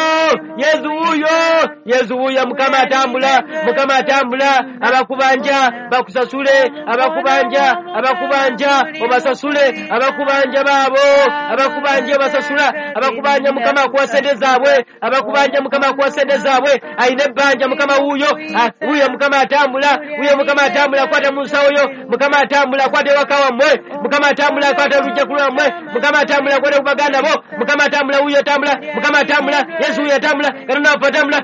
Yesu wuuyo, Yesu wuuyo, Mukama atambula, Mukama atambula, abakubanja bakusasule, abakubanja, abakubanja obasasule, abakubanja baabo, abakubanja obasasula, abakubanja Mukama akuwa sente zaabwe, abakubanja Mukama akuwa sente zaabwe, alina ebbanja Mukama wuuyo, wuuyo Mukama atambula, wuuyo Mukama atambula, akwata mu nsawo yo, Mukama atambula, akwata ewaka wammwe, Mukama atambula, akwata olujja ku lwammwe, Mukama atambula, akwata ku baganda bo, Mukama atambula, wuuyo atambula, Mukama atambula, Yesu wuuyo atambula, Katonda waffe atambula,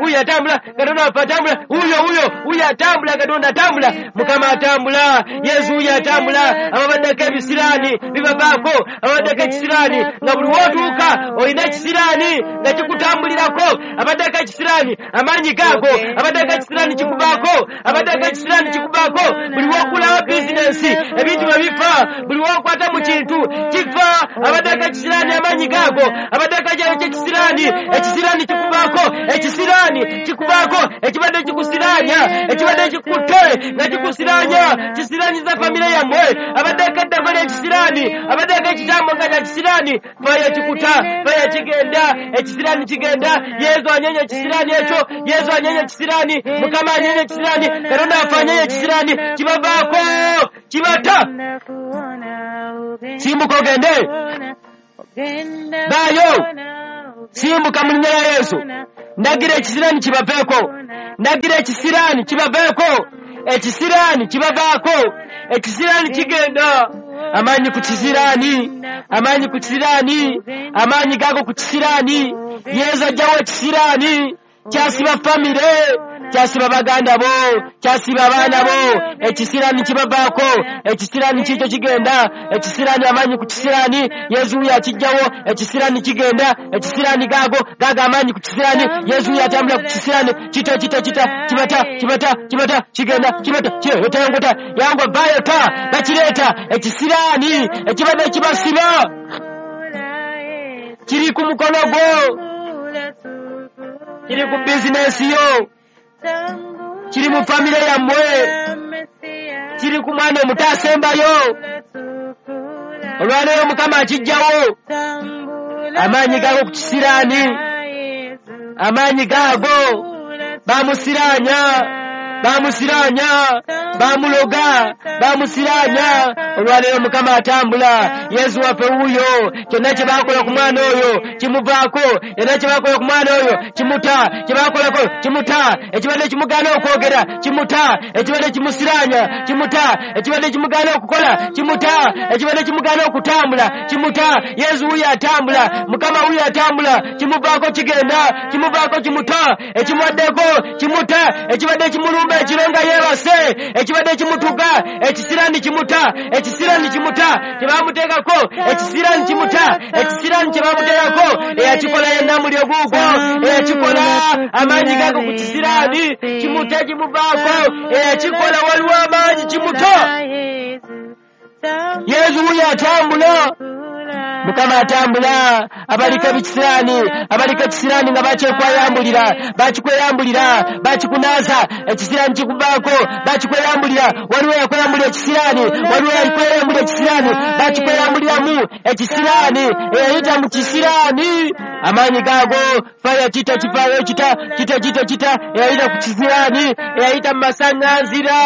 wuuyo atambula, Katonda waffe atambula, wuuyo wuuyo, wuuyo atambula, Katonda atambula, Mukama atambula, Yesu wuuyo atambula, ababaddeko ebisiraani bibavaako, ababaddeko ekisiraani nga buli w'otuuka olina ekisiraani nga kikutambulirako, abaddeko ekisiraani amaanyi gaago, abaddeko ekisiraani kikuvaako, abaddeko ekisiraani kikuvaako, buli w'okulawo bizinensi ebintu bwe bifa, buli w'okwata mu kintu kifa, Abaddeko ekisiraani amaanyi gaago, abaddeko ekisiraani, ekisiraani kikuvaako, ekisiraani kikuvaako, ekibadde kikusiraanya, ekibadde kikutte nga kikusiraanya, kisiraanyiza famire yammwe. Abaddeko eddagala ekisiraani, abaddeko ekitambo nga kya kisiraani, faya kikuta, faya kigenda, ekisiraani kigenda. Yesu anyenye ekisiraani ekyo, Yesu anyenye ekisiraani, Mukama anyenye ekisiraani, Katonda waffe anyenye ekisiraani, kibavaako, kibata. Simbuka ogende, baayo, simbuka mu linnya lya Yesu. Ndagira ekisiraani kibaveeko, ndagira ekisiraani kibaveeko, ekisiraani kibavaako, ekisiraani kigenda. Amaanyi ku kisiraani, amaanyi ku kisiraani, amaanyi gago ku kisiraani. Yesu ajjawo ekisiraani kyasiba famire, kyasiba baganda bo, kyasiba abaana bo. Ekisiraani kibavaako, ekisiraani kikyo kigenda, ekisiraani amaanyi ku kisiraani. Yesu wuyo akijjawo, ekisiraani kigenda, ekisiraani gaago gaago amaanyi ku kisiraani. Yesu wuyo atambula ku kisiraani, kita kita kita, kibata kibata kibata, kigenda kibata, kiretangota yangwa vayo ta bakireeta. Ekisiraani ekibadde kibasiba kiri ku mukono gwo, kiri ku bizinesi yo, kiri mu famire yammwe, kiri ku mwana omuto asembayo. Olwaleero Mukama akijjawo. Amaanyi gaago ku kisiraani, amaanyi gaago bamusiraanya, bamusiraanya, bamuloga, bamusiraanya. Olwaleero Mukama atambula. Yesu waffe wuuyo. Kyonna kye baakola ku mwana oyo kimuvaako, kyonna kye baakola ku mwana oyo kimuta, kye baakolako kimuta, ekibadde kimugaana okwogera kimuta, ekibadde kimusiraanya kimuta, ekibadde kimugaana okukola kimuta, ekibadde kimugaana okutambula kimuta. Yesu wuuyo atambula, Mukama wuuyo atambula, kimuvaako kigenda, kimuvaako kimuta, ekimuwaddeko kimuta, ekibadde kimulumba ekiro nga yeebase, ekibadde kimutuga, ekisiraani kimuta, ekisiraani kimuta, kye baamuteekako, ekisiraani kimuta, ekisiraani kye baamuteekako. Eyakikola yenna muli oguugwo, eyakikola amaanyi gago ku kisiraani kimuta, kimuvaako. Eyakikola waliwo amaanyi, kimuta. Yesu wuyo atambula, Mukama atambula. Abaliko ebikisiraani, abaliko ekisiraani nga bakyekwayambulira, bakikweyambulira, bakikunaaza, ekisiraani kikuvaako, bakikweyambulira. Waliwo yakweyambulira ekisiraani, waliwo yakweyambulira ekisiraani, bakikweyambuliramu ekisiraani, eyayita mu kisiraani. Amaanyi gaago faya kita kifaayo kita kita kita kita, eyayita ku kisiraani, eyayita mu masaŋŋanzira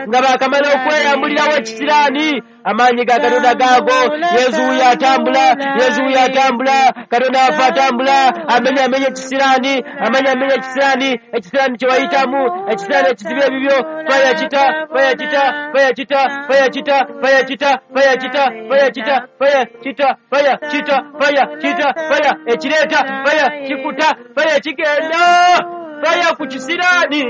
nga baakamala okweyambulirawo ekisiraani. Amaanyi ga Katonda gaago. Yesu wuyo atambula, Yesu wuyo atambula, Katonda waffe atambula. Amenya amenya ekisiraani, amenya amenya ekisiraani, ekisiraani kye wayitamu, ekisiraani ekizibya ebibyo. Faya kita, faya kita, faya kita, faya kita, faya kita, faya kita, faya kita, faya kita, faya kita, faya kita, faya ekireeta, faya kikuta, faya kigenda, faya ku kisiraani.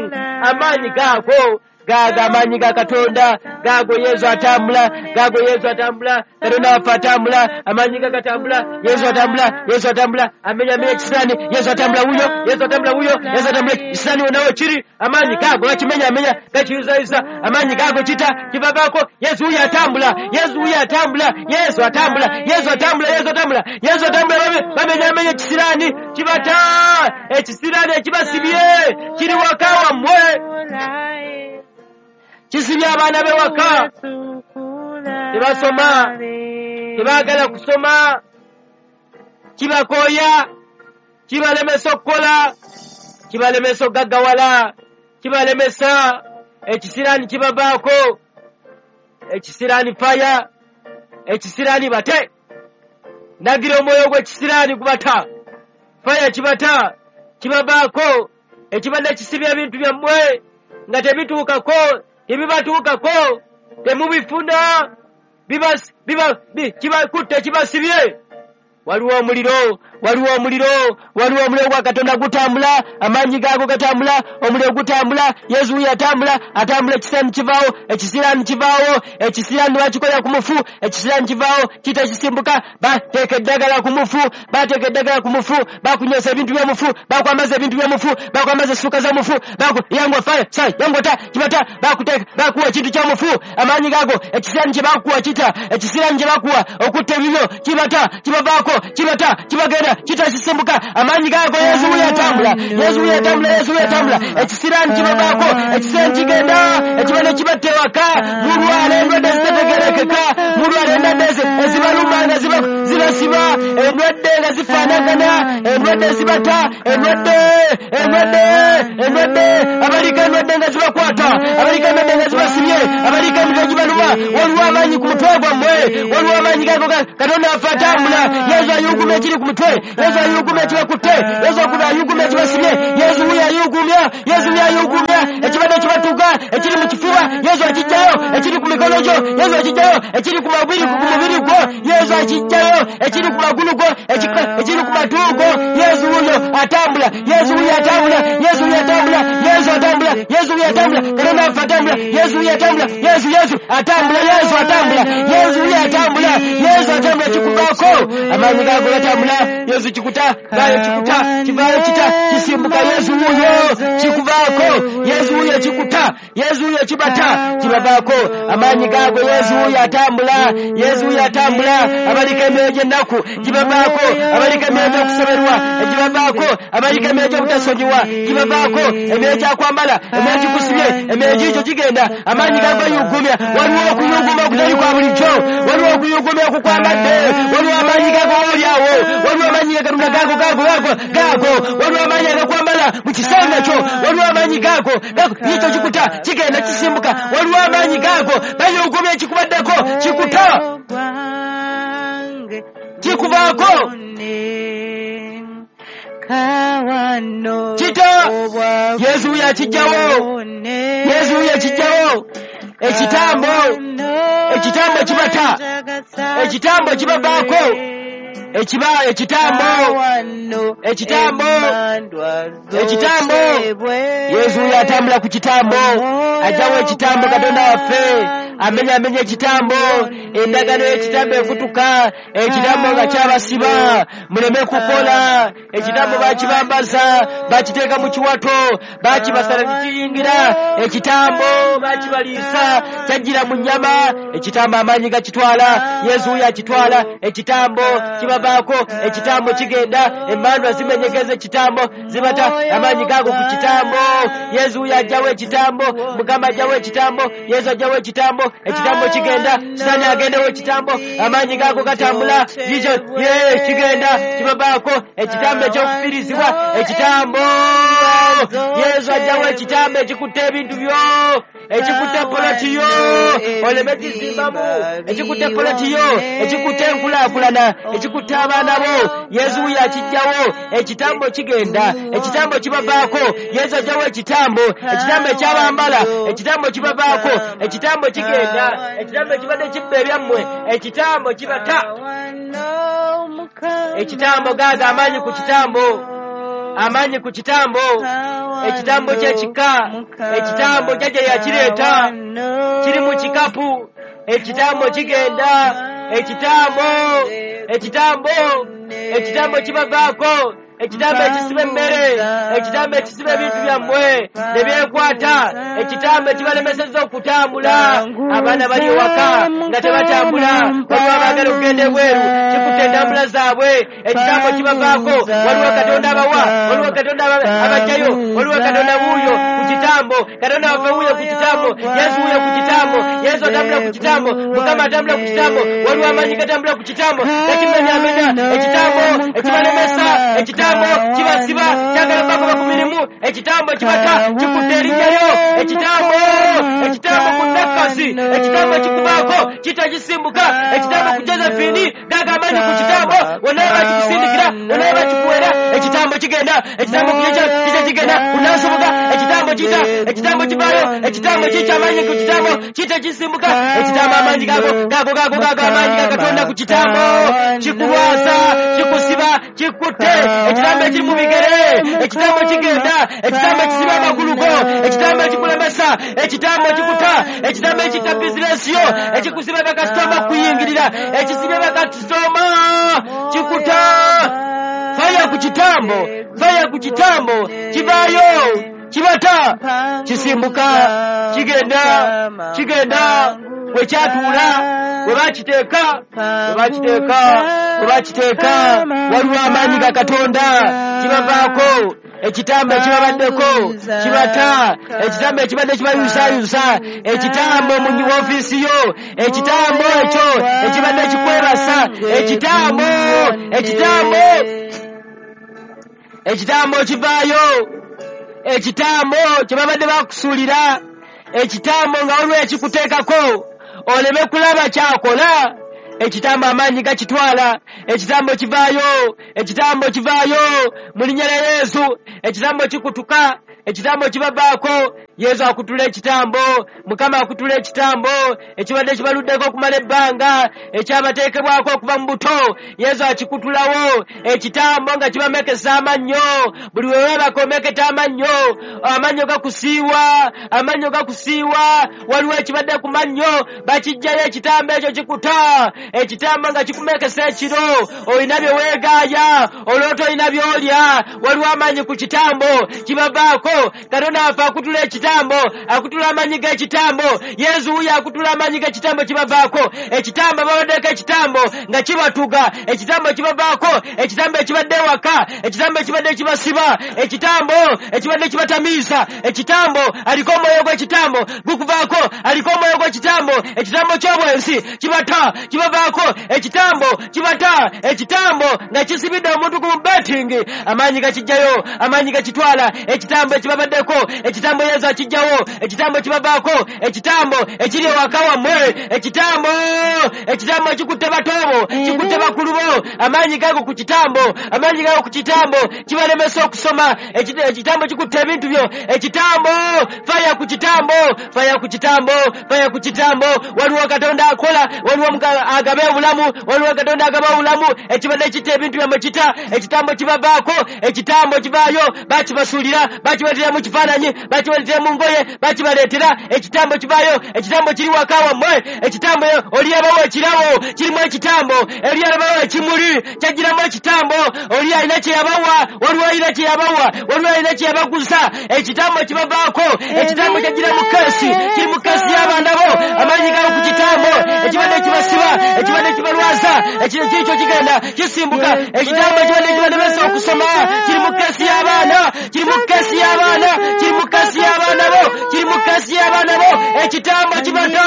Amaanyi gaago gaago, amaanyi ga Katonda gaago. Yesu atambula, gaago. Yesu atambula, Katonda waffe atambula, amaanyi ga gatambula. Yesu atambula, Yesu atambula, amenya amenya ekisiraani. Yesu atambula wuyo, Yesu atambula wuyo, Yesu atambula ekisiraani wonawo kiri. Amaanyi gaago gakimenya amenya, gakiyuzayuza. Amaanyi gaago kita kibavaako. Yesu wuyo atambula, Yesu wuyo atambula, Yesu atambula, Yesu atambula, Yesu atambula, Yesu atambula. Bamenya amenya ekisiraani kibata, ekisiraani ekibasibye kiri waka wammwe, kisibye abaana be waka, tebasoma, tebaagala kusoma, kibakooya, kibalemesa okukola, kibalemesa okugaggawala, kibalemesa. Ekisiraani kibavaako, ekisiraani faya, ekisiraani bate. Nagira omwoyo gw'ekisiraani gubata, faya kibata, kibavaako. Ekibadde kisibya ebintu byammwe nga tebituukako, tebibatuukako, temubifuna, kibakutte, kibasibye. Waliwo omuliro, waliwo omuliro, waliwo omuliro gwa Katonda gutambula, amaanyi gaago gatambula, omuliro gutambula, Yesu wuyo atambula, atambula ekisiraani kivaawo, ekisiraani kivaawo, ekisiraani bakikolera ku mufu, ekisiraani kivaawo, kita kisimbuka, bateeka eddagala ku mufu, bateeka eddagala ku mufu, bakunywesa ebintu by'omufu, bakwambaza ebintu by'omufu, bakwambaza essuuka z'omufu, baku yangwa fire, sai, yangwa ta, kibata, bakuteeka, bakuwa ekintu ky'omufu, amaanyi gaago, ekisiraani kye bakuwa kita, ekisiraani kye bakuwa okutta ebibyo, kibata, kibavaako, kibata, kibagenda, kita kisimbuka, amaanyi gaago Yesu wuyo atambula, Yesu wuyo atambula, Yesu wuyo atambula, ekisiraani kibavaako, ekisiraani kigenda, ekibano kibatta ewaka, mulwala endwadde ezitategeerekeka, mulwala endwadde ezibaluma nga zibasiba, endwadde nga zifaanagana, endwadde ezibata, endwadde, endwadde, endwadde, abaliko endwadde nga zibakwata, abaliko endwadde nga zibasibye, abaliko emitwe gibaluma, waliwo amaanyi ku mutwe gwammwe, waliwo amaanyi gaago Katonda waffe atambula, Yesu ayugumya ekiri ku mutwe, Yesu ayugumya ekibakutte, Yesu ayugumya ekibasibye, Yesu wuyo ayugumya, Yesu wuyo ayugumya, ekibadde kibatuga, ekiri mu kifuba, Yesu akiggyayo, ekiri ku mikono gyo, Yesu akiggyayo, ekiri ku mabiri ku mubiri gwo, Yesu akiggyayo, ekiri ku magulu go, ekiri ku matu go, Yesu wuyo atambula, Yesu wuyo atambula, Yesu wuyo atambula, Yesu atambula, Yesu wuyo atambula, Katonda waffe atambula, Yesu wuyo atambula, Yesu Yesu atambula, Yesu atambula, Yesu wuyo atambula, Yesu atambula kikuvaako, amaanyi gaago gatambula, Yesu kikuta, vaayo kikuta, kivaayo kita, kisimbuka, Yesu wuyo kikuvaako, Yesu wuyo kikuta, Yesu wuyo kibata, kibavaako, amaanyi gaago Yesu wuyo atambula, Yesu wuyo atambula, abaliko emyoyo gy'ennaku gibavaako, abaliko emyoyo gy'okusoberwa gibavaako, abaliko emyoyo gy'obutasonyiwa gibavaako, emyoyo gyakwambala, emyoyo gikusibye, emyoyo giikyo gigenda, amaanyi gaago gayugumya, waliwo okuyuguma okutali kwa bulijjo, waliwo okuyugumya okukwambadde, waliwo amaanyi gaago oli awo, waliwo amaanyi ga Katonda gaago gaago gaago gaago, waliwo amaanyi agakwambala mu kisenge kyo, waliwo amaanyi gaago gaago, ekyo kikuta kigenda kisimbuka, waliwo amaanyi gaago bayugumya ekikubaddeko kikuta kikuvaako kita, Yesu wuyo akijjawo, Yesu wuyo akijjawo, ekitambo, ekitambo kibata, ekitambo kibavaako, ekiba ekitambo, ekitambo, ekitambo, Yesu wuyo atambula ku kitambo, ajjawo ekitambo Katonda waffe, amenya amenya ekitambo, endagaano y'ekitambo ekutuka, ekitambo nga kyabasiba, muleme kukola, ekitambo bakibambaza, bakiteeka mu kiwato, bakibasala tekiyingira, ekitambo bakibaliisa, kyajjira mu nnyama, ekitambo amaanyi gakitwala, Yesu wuyo akitwala, ekitambo kibavaako, ekitambo kigenda, emmandwa zimenyekeza ekitambo, zibata amaanyi gaago ku kitambo, Yesu wuyo ajjawo ekitambo, Mukama ajjawo ekitambo, Yesu ajjawo ekitambo, ekitambo kigenda, Sitaani agendewo ekitambo, amaanyi gaago gatambula, kikyo ye kigenda, kibavaako, ekitambo ekyokufiirizibwa, ekitambo, Yesu ajjawo ekitambo ekikutte ebintu byo, ekikutte poloti yo, oleme kizimbamu, ekikutte poloti yo, ekikutte enkulaakulana, ekikutte abaana bo, Yesu wuyo akijjawo, ekitambo kigenda, ekitambo kibavaako, Yesu ajjawo ekitambo, ekitambo ekyabambala, ekitambo kibavaako, ekitambo kigenda, ekitambo ekibadde kibba ebyammwe, ekitambo kibata, ekitambo gaago amaanyi ku kitambo, amaanyi ku kitambo, ekitambo ky'ekika, ekitambo jjajja yakireeta, kiri mu kikapu, ekitambo kigenda, ekitambo, ekitambo, ekitambo kibavaako, ekitambo ekisiba emmere, ekitambo ekisiba ebintu byammwe ne byekwata, ekitambo ekibalemesezza okutambula, abaana bali ewaka nga tebatambula, waliwo abaagala okugenda ebweru, kikutte entambula zaabwe, ekitambo kibavaako, waliwo Katonda abawa, waliwo Katonda abaggyayo, waliwo Katonda wuuyo ku kitambo, Katonda waffe wuuyo ku kitambo, Yesu wuuyo ku kitambo, Yesu atambula ku kitambo, Mukama atambula ku kitambo, waliwo amaanyi gatambula ku kitambo, gakimenyaamenya, ekitambo ekibalemesa, ekitambo kibasiba, kyagala bagoba ku mirimu, ekitambo kibata, kikutte erinnya lyo, ekitambo, ekitambo ku Nakasi, ekitambo kikubaako, kitagisimbuka, ekitambo ku Josephine, gaago amaanyi ku kitambo, wonna bakikusindikira, wonna bakikuwera, ekitambo kigenda, ekitambo ku kita kigenda, ku Nansubuga, ekitambo kita, Ekitambo kivaayo, ekitambo kikyo amaanyi ku kitambo kita kisimbuka. Ekitambo amaanyi gago gago gago gago amaanyi ga Katonda ku kitambo kikulwasa, kikusiba, kikutte. Ekitambo ekiri mu bigere, ekitambo kigenda, ekitambo ekisiba amagulu go, ekitambo ekikulemesa, ekitambo kikuta, ekitambo ekitta bizinesi yo, ekikusiba bakasitoma okuyingirira, ekisibye bakasitoma kikuta. Faya ku kitambo, faya ku kitambo, kivaayo, kibata, kisimbuka, kigenda, kigenda, we kyatuula, we bakiteeka, we bakiteeka, we bakiteeka, waliwo amaanyi ga Katonda, kibavaako. Ekitambo ekibabaddeko kibata, ekitambo ekibadde kibayusayusa, ekitambo mu ofiisi yo, ekitambo ekyo ekibadde kikwebasa, ekitambo, ekitambo, ekitambo kivaayo, ekitambo kye babadde bakusuulira, ekitambo nga waliwo ekikuteekako oleme kulaba kyakola. Ekitambo amaanyi gakitwala, ekitambo kivaayo, ekitambo kivaayo mu linnya lya Yesu. Ekitambo kikutuka, ekitambo kibavaako. Yesu akutula ekitambo, Mukama akutula ekitambo ekibadde kibaluddeko okumala ebbanga, ekyabateekebwako okuva mu buto. Yesu akikutulawo ekitambo nga kibamekesa amannyo. Buli we weebaka omeketa amannyo, amannyo gakusiiwa, amannyo gakusiiwa. Waliwo ekibadde ku mannyo, bakiggyayo ekitambo ekyo kikuta. Ekitambo nga kikumekesa ekiro, olina bye weegaaya, oloota olina by'olya. Waliwo amaanyi ku kitambo kibavaako. Katonda waffe akutula ekitambo, akutula amaanyi g'ekitambo. Yesu wuyo akutula amaanyi g'ekitambo kibavaako. Ekitambo babaddeko ekitambo nga kibatuga, ekitambo kibavaako. Ekitambo ekibadde ewaka, ekitambo ekibadde kibasiba, ekitambo ekibadde kibatamiisa, ekitambo aliko omwoyo gw'ekitambo gukuvaako, aliko omwoyo gw'ekitambo. Ekitambo ky'obwensi kibata, kibavaako. Ekitambo kibata, ekitambo nga kisibidde omuntu ku betting, amaanyi gakijjayo, amaanyi gakitwala. Ekitambo ekibabaddeko, ekitambo Yesu akijjawo, ekitambo kibavaako. Ekitambo ekiri ewaka wammwe, ekitambo, ekitambo kikutte batoobo, kikutte bakulu bo. Amaanyi gago ku kitambo, amaanyi gago ku kitambo kibalemesa okusoma. Ekitambo kikutte ebintu byo. Ekitambo, faya ku kitambo, faya ku kitambo, faya ku kitambo. Waliwo Katonda akola, waliwo agaba obulamu, waliwo Katonda agaba obulamu. Ekibadde kitta ebintu byammwe kita, ekitambo kibavaako. Ekitambo kivaayo, bakibasuulira, bakibaleetera mu kifaananyi, bakibaleetera mu ngoye, bakibaleetera. Ekitambo kivaayo, ekitambo kiri waka wammwe. Ekitambo oli yabawo ekirabo kirimu ekitambo, oli yabawo ekimuli kyagiramu ekitambo, oli alina kye yabawa, waliwo alina kye yabawa, waliwo alina kye yabaguza. Ekitambo kibavaako. Ekitambo kyagira mu keesi, kiri mu keesi y'abaana bo. Amaanyi gawo ku kitambo ekibadde kibasiba, ekibadde kibalwaza, ekikyo kigenda kisimbuka. Ekitambo ekibadde kibalemesa okusoma kiri mu keesi y'abaana, kiri mu keesi y'abaana, kiri mu keesi y'abaana bo, kiri mu keesi y'abaana bo. Ekitambo kibata,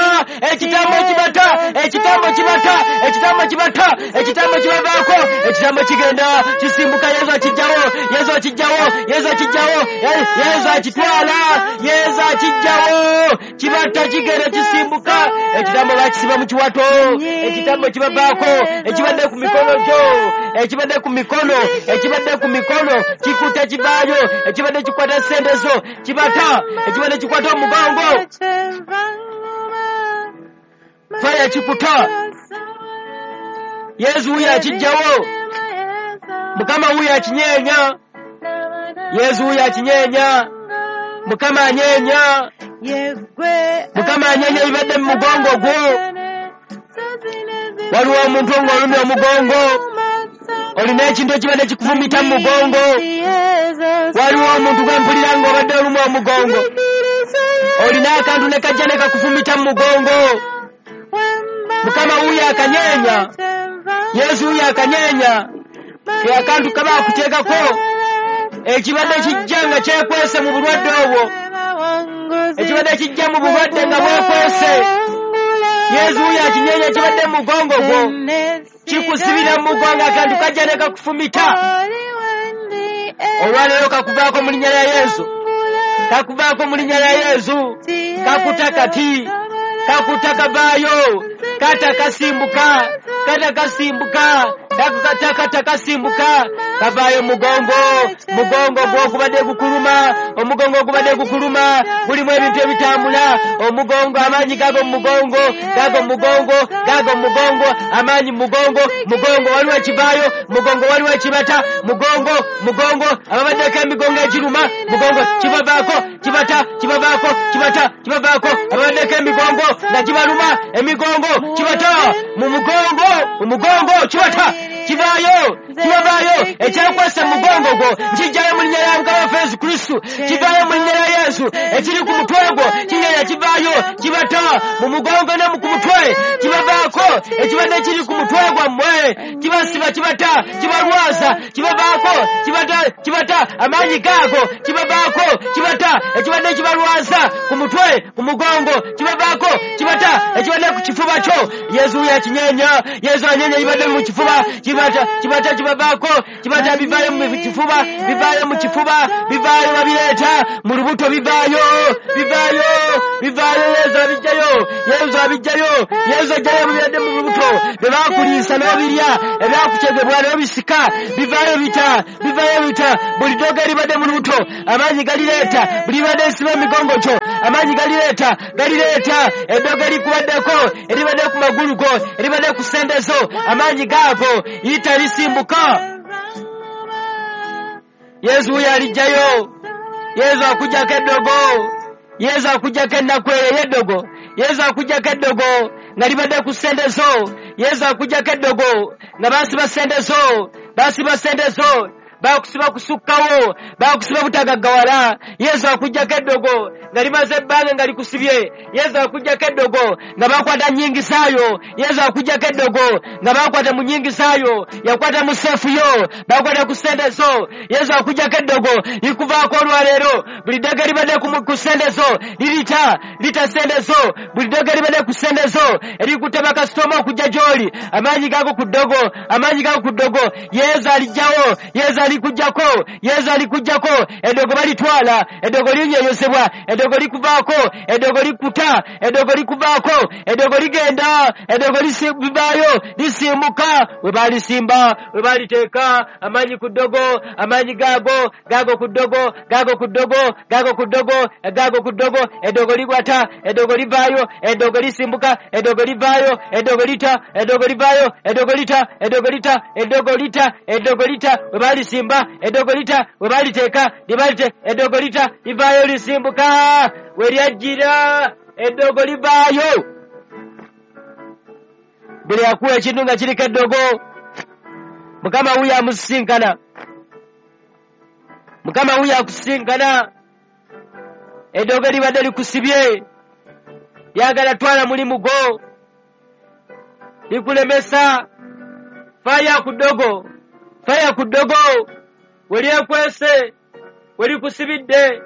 ekitambo kibata, ekitambo kibata, ekitambo kibata, ekitambo kibavaako. Ekitambo kigenda kisimbuka. Yesu akijjawo, Yesu akijjawo, Yesu akijjawo, Yesu akitwala, Yesu akijjawo. Kibata kigenda kisimbuka. Ekitambo bakisiba mu kiwato, ekitambo kibavaako. Ekibadde ku mikono gyo, ekibadde ku mikono, ekibadde ku mikono kikuta kivaayo. Ekibadde kikwata ssente zo kibata, ekibadde kikwata omugongo, faya kikuta. Yesu wuyo akijjawo, Mukama wuyo akinyeenya. Yesu wuyo akinyeenya, Mukama anyeenya, Mukama anyeenya ebibadde mu mugongo gwo. Waliwo omuntu ng'olumya omugongo, olina ekintu ekibadde kikuvumita mu mugongo. Waliwo omuntu gwe mpulira ng'obadde olumwa omugongo, olina akantu ne kajja ne kakufumita mu mugongo. Mukama wuyo akanyeenya, Yesu wuyo akanyeenya. Ke akantu kaba akuteekako ekibadde kijja nga kyekwese mu bulwadde obwo, ekibadde kijja mu bulwadde nga bwekwese. Yesu wuyo akinyeenya ekibadde mu mugongo gwo, kikusibira mu mugongo, akantu kajja ne kakufumita. Olwaleero kakuvaako mu linnya lya Yesu, kakuvaako mu linnya lya Yesu. Kakuta kati, kakuta kavaayo, kata kasimbuka, kata kasimbuka, kata kasimbuka, Kavaayo mugongo, mugongo gw'ogubadde gukuluma, omugongo ogubadde gukuluma, gulimu ebintu ebitambula, omugongo amaanyi gago mu mugongo, gago mu mugongo, gago mu mugongo, amaanyi mu mugongo, mugongo waliwo ekivaayo, mugongo waliwo ekibata, mugongo, mugongo, ababaddeko emigongo egiruma, mugongo kibavaako, kibata, kibavaako, kibata, kibavaako, ababaddeko emigongo nga gibaluma, emigongo kibata, mu mugongo, mu mugongo kibata, kivaayo, kibavaayo, ekyakwasa mu mugongo gwo, kijjayo mu linnya lya Mukama waffe Yesu Kristo, kivaayo mu linnya lya Yesu, ekiri ku mutwe gwo, kigenda kivaayo, kibata mu mugongo ne ku mutwe, kibavaako, ekibadde kiri ku mutwe gwammwe, kibasiba, kibata, kibalwaza, kibavaako, kibata, kibata, amaanyi gaago, kibavaako, kibata, ekibadde kibalwaza ku mutwe, ku mugongo, kibavaako, kibata, ekibadde ku kifuba kyo, Yesu yakinyeenya, Yesu anyeenya ekibadde mu kifuba, kibata, kibata, kibavaako, kibata bivaayo mu kifuba, bivaayo mu kifuba, bivaayo babireeta, mu lubuto bivaayo, bivaayo, bivaayo, Yesu abijjayo, Yesu abijjayo, Yesu ajjayo ebibadde mu lubuto, bye baakuliisa n'obirya, ebyakukyegebwa n'obisika, bivaayo bita, bivaayo bita, buli ddogo eribadde mu lubuto, amaanyi galireeta, buli libadde lisiba emigongo gyo, amaanyi galireeta, galireeta, eddogo erikubaddeko, eribadde ku magulu go, eribadde ku ssente zo, amaanyi gaago, yita lisimbuka. Yesu wuyo alijjayo, Yesu akuggyako eddogo, Yesu akuggyako ennaku eyo ey'eddogo, Yesu akuggyako eddogo nga libadde ku ssente zo, Yesu akuggyako eddogo nga baasiba ssente zo, baasiba ssente zo, baakusiba kusukkawo, baakusiba butagaggawala. Yesu akuggyako eddogo nga limaze ebbanga nga likusibye. Yesu akuggyako eddogo nga baakwata nnyingisaayo. Yesu akuggyako eddogo nga baakwata mu nnyingisaayo, yakwata mu seefu yo, baakwata ku ssente zo. Yesu akuggyako eddogo likuvaako olwaleero. Buli ddogo eribadde ku ssente zo lirita, lita ssente zo. Buli ddogo eribadde ku ssente zo erikutte bakasitoma okujja gy'oli, amaanyi gago ku ddogo, amaanyi gago ku ddogo. Yesu alijjawo, Yesu alikuggyako, Yesu alikuggyako. Eddogo balitwala, eddogo linyenyezebwa, eddogo likuvaako, eddogo likuta, eddogo likuvaako, eddogo ligenda, eddogo livaayo, lisimbuka. We baalisimba, we baaliteeka, amaanyi ku ddogo, amaanyi gaago, gaago ku ddogo, gaago ku ddogo, gaago ku ddogo, gaago ku ddogo, eddogo ligwata, eddogo livaayo, eddogo lisimbuka, eddogo livaayo, eddogo lita, eddogo livaayo, eddogo lita, eddogo lita, eddogo lita, eddogo lita, we baalisimba, eddogo lita, we baaliteeka, libalite, eddogo lita, livaayo lisimbuka, we lyajjira, eddogo livaayo. Buli akuwa ekintu nga kiriko eddogo, Mukama wuyo amusisinkana, Mukama wuyo akusisinkana. Eddogo libadde likusibye, lyagala twala mulimu gwo, likulemesa. Faya ku ddogo, faya ku ddogo, we lyekwese, we likusibidde.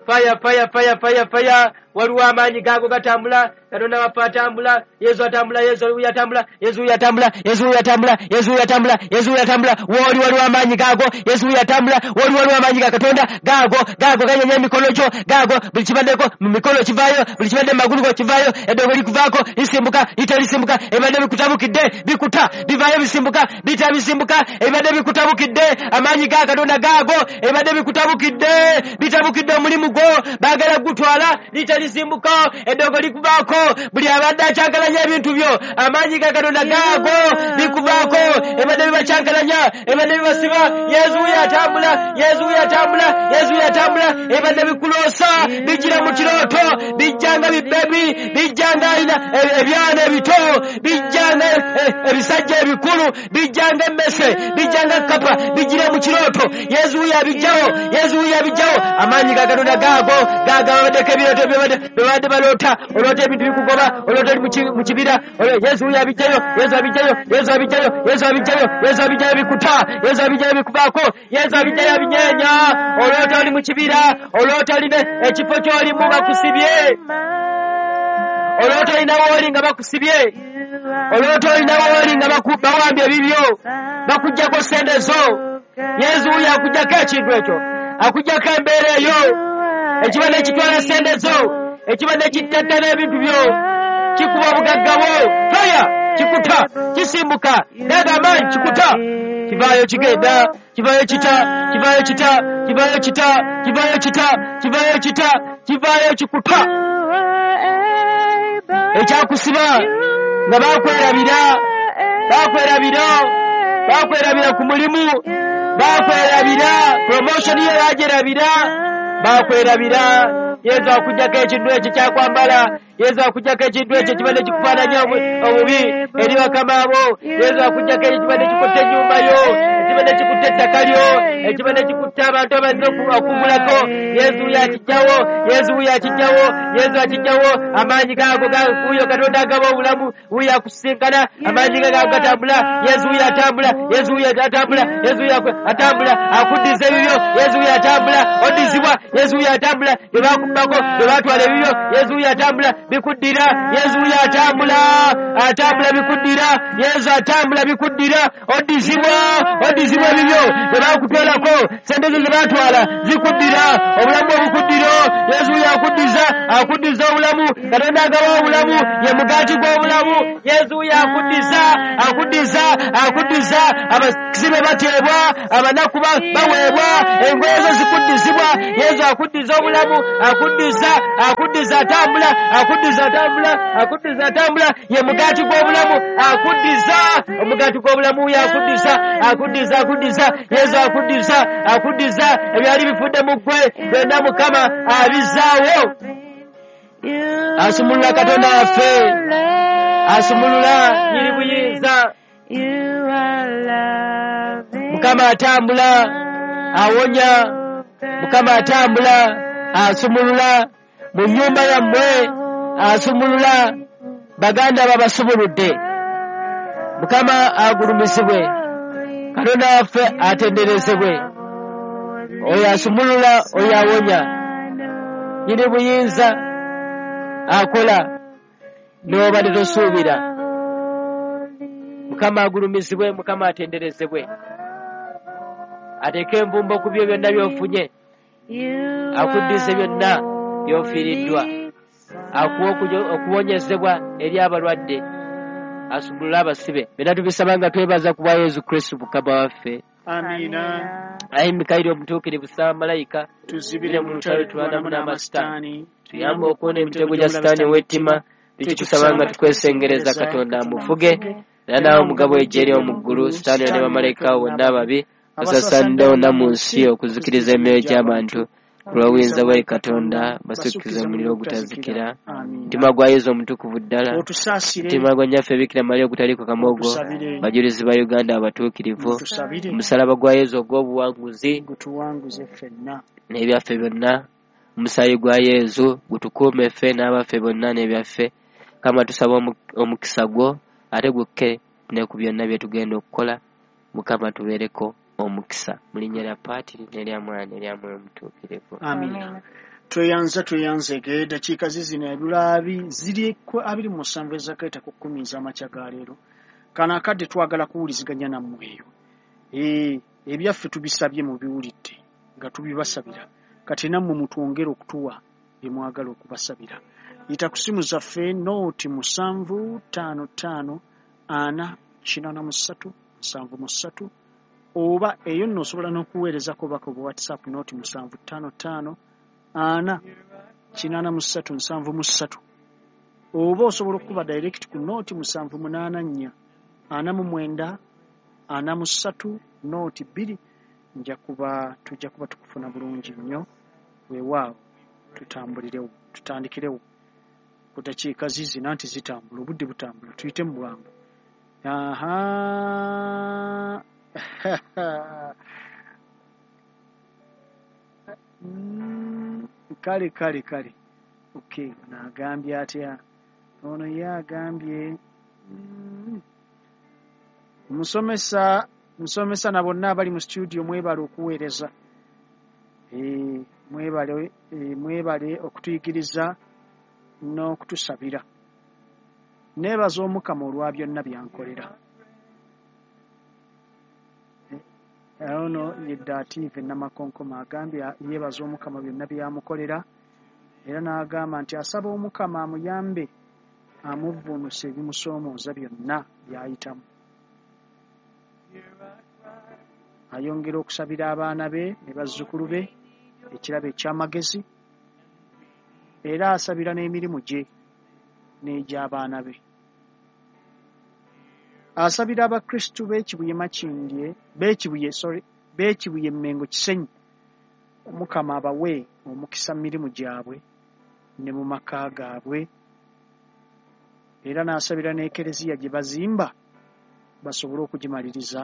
Faya, faya, faya, faya, faya. Waliwo amaanyi gaago gatambula, Katonda waffe atambula, Yesu atambula, Yesu wuyo atambula, Yesu wuyo atambula, Yesu wuyo atambula, Yesu wuyo atambula, Yesu wuyo atambula. Wooli waliwo amaanyi gaago, Yesu wuyo atambula, wooli waliwo amaanyi ga Katonda gaago, gaago ganyenya emikono gyo, gaago buli kibaddeko mu mikono kivaayo, buli kibadde mu magulu go kivaayo, eddogo likuvaako, lisimbuka, lita lisimbuka, ebibadde bikutabukidde bikuta, bivaayo bisimbuka, bita bisimbuka, ebibadde bikutabukidde, amaanyi ga Katonda gaago, ebibadde bikutabukidde, bitabukidde omulimu gwo, baagala gutwala, lita lisimbuka, eddogo likuvaako. Buli abadde akyankalanya ebintu byo, amaanyi ga Katonda gaago likuvaako, ebadde bibakyankalanya, ebadde bibasiba. Yesu wuyo atambula, Yesu wuyo atambula, Yesu wuyo atambula. Ebadde bikuloosa, bijjira mu kirooto, bijja nga bibebi, bijja nga ebyana ebito, bijja nga ebisajja ebikulu, bijja nga emmese, bijja nga kkapa, bijjira mu kirooto. Yesu wuyo abijjawo, Yesu wuyo abijjawo. Amaanyi ga Katonda gaago, gaago ababaddeko ebirooto bye babadde baloota, oloota ebintu bikugoba, oloota oli mu kibira. Yesu wuyo abijjayo, Yesu abijjayo, Yesu abijjayo, Yesu abijjayo, Yesu abijjayo bikuta, Yesu abijjayo bikuvaako, Yesu abijjayo abinyeenya. Oloota oli mu kibira, oloota olina ekifo ky'olimu bakusibye, oloota olina wooli nga bakusibye, oloota olina wooli nga bawambye ebibyo, bakuggyako ssente zo. Yesu wuyo akuggyako ekintu ekyo, akuggyako embeera eyo, ekibadde kitwala ssente zo, ekibadde kittattana ebintu byo, kikuba obugagga bwo. Faya, kikuta, kisimbuka, gago amaanyi kikuta. Kivaayo kigenda, kivaayo kita, kivaayo kita, kivaayo kita, kivaayo kita, kivaayo kita, kivaayo kikuta. Ekyakusiba nga bakwerabira, bakwerabira, bakwerabira ku mulimu, bakwerabira promotion ye bagyerabira, bakwerabira. Yesu akuggyako ekintu ekyo kyakwambala, Yesu akuggyako ekintu ekyo kibadde kikufaananya obubi eri bakama bo, Yesu akuggyako ekyo kibadde kikutte ennyumba yo, ekibadde kikutte ettaka lyo, ekibadde kikutte abantu abazze okugulako. Yesu wuyo akiggyawo, Yesu wuyo akiggyawo, Yesu akiggyawo. Amaanyi gaago wuyo Katonda agaba obulamu, wuyo akusisinkana, amaanyi ge gaago gatambula. Yesu wuyo atambula, Yesu wuyo atambula, Yesu wuyo atambula, akuddiza ebibyo. Yesu wuyo atambula, oddizibwa. Yesu wuyo atambula, bye bakubbako, bye baatwala ebibyo. Yesu wuyo atambula, bikuddira. Yesu wuyo atambula, atambula bikuddira. Yesu atambula bikuddira, oddizibwa, oddizibwa ebibyo bye bakutwalako, sente zo ze baatwala zikuddira, obulamu obukuddira. Yesu wuyo akuddiza, akuddiza obulamu. Katonda agaba obulamu, ye mugaati gw'obulamu. Yesu wuyo akuddiza, akuddiza, akuddiza. Abasibe bateebwa, abanaku baweebwa, engoye zo zikuddizibwa. Yesu akuddiza obulamu, akuddiza, akuddiza atambula, akuddiza atambula, akuddiza atambula, ye mugaati gw'obulamu, akuddiza omugaati gw'obulamu. Wuyo akuddiza, akuddiza, akuddiza. Yesu akuddiza, akuddiza ebyali bifudde mu ggwe byonna Mukama abizaawo. Asumulula Katonda waffe, asumulula nyiri buyinza. Mukama atambula awonya, Mukama atambula asumulula mu nnyumba yammwe, asumulula baganda babasumuludde. Mukama agulumizibwe, Katonda waffe atenderezebwe. Oyo asumulula, oyo awonya, nyiri buyinza akola n'obadde tosuubira. Mukama agulumizibwe, Mukama atenderezebwe. Ateeke envumbo ku byo byonna by'ofunye, akuddize byonna by'ofiiriddwa, akuwe okuwonyezebwa eri abalwadde, asumulule abasibe. Byonna tubisaba nga twebaza ku bwa Yesu Kristo Mukama waffe. Amiina. Ayi Mikayiri omutuukirivu, saba malayika tuzibire mu lutalo tulwanamu n'amasitaani, tuyambe okuwona emitego gya sitaani ow'ettima. Tukikusaba nga tukwesengereza Katonda amufuge, era naawe omugabo ejje eri omu ggulu, sitaani ne bamalayika bonna ababi basasaanidde wonna mu nsi okuzikiriza emyoyo gy'abantu. Ku lw'obuyinza bwa Katonda basukkize omuliro ogutazikira. Mutima gwa Yesu omutukuvu ddala, mutima gwa Nnyaffe Bikira Maria ogutaliiko kamogo, bajulizi ba Uganda abatuukirivu, omusalaba gwa Yesu ogw'obuwanguzi gutuwanguze ffenna n'ebyaffe byonna, omusaayi gwa Yesu gutukuume ffe n'abaffe bonna n'ebyaffe. Kama tusaba omukisa gwo ate gukke ne ku byonna bye tugenda okukola. Mukama tubeereko omukisa mu linnya lya Patiri n'erya Mwana n'erya Mwoyo Mutuukirivu. Amiina. Tweyanza tweyanzege. Dakiika zizino ebulaabi ziri abiri mu musanvu ezakaita ku kkumi ez'amakya ga leero. Kano akadde twagala kuwuliziganya nammwe eyo. Ee, ebyaffe tubisabye mubiwulidde nga tubibasabira. Kati nammwe mutwongere okutuwa bye mwagala okubasabira. Yita ku ssimu zaffe nooti musanvu ttaano ttaano ana kinaana mu ssatu musanvu mu ssatu, oba eyo nno osobola n'okuweerezako obubaka obwa WhatsApp nooti musanvu ttaano ttaano ana kinaana mu ssatu nsanvu mu ssatu, oba osobola okukuba direct ku nooti musanvu munaana nnya ana mu mwenda ana mu ssatu nooti bbiri. Nja kuba tujja kuba tukufuna bulungi nnyo. Weewaawo tutambulirewo, tutandikirewo ku dakiika zizina nti zitambula, obudde butambula, tuyite mu bwangu. Aha. Kale kale kale. Okay, nagambye atya? Ono ye agambye mm. Musomesa musomesa na bonna abali mu studio mwebale okuweereza. Eh, mwebale eh, mwebale okutuyigiriza n'okutusabira. Neebaza Omukama olwa byonna byankolera. Ono ye Dative Namakonkoma agambye yeebaza Omukama byonna byamukolera, era n'agamba nti asaba Omukama amuyambe amuvvuunuse ebimusoomooza byonna by'ayitamu. Ayongera okusabira abaana be ne bazzukulu be ekirabo eky'amagezi, era asabira n'emirimu gye n'egy'abaana be. Asabira abakristu b'Ekibuye Makindye, b'Ekibuye, sorry, b'Ekibuye Mmengo Kisenyi, Omukama abawe omukisa mu mirimu gyabwe ne mu maka gaabwe. Era n'asabira n'ekereziya gye bazimba basobole okugimaliriza.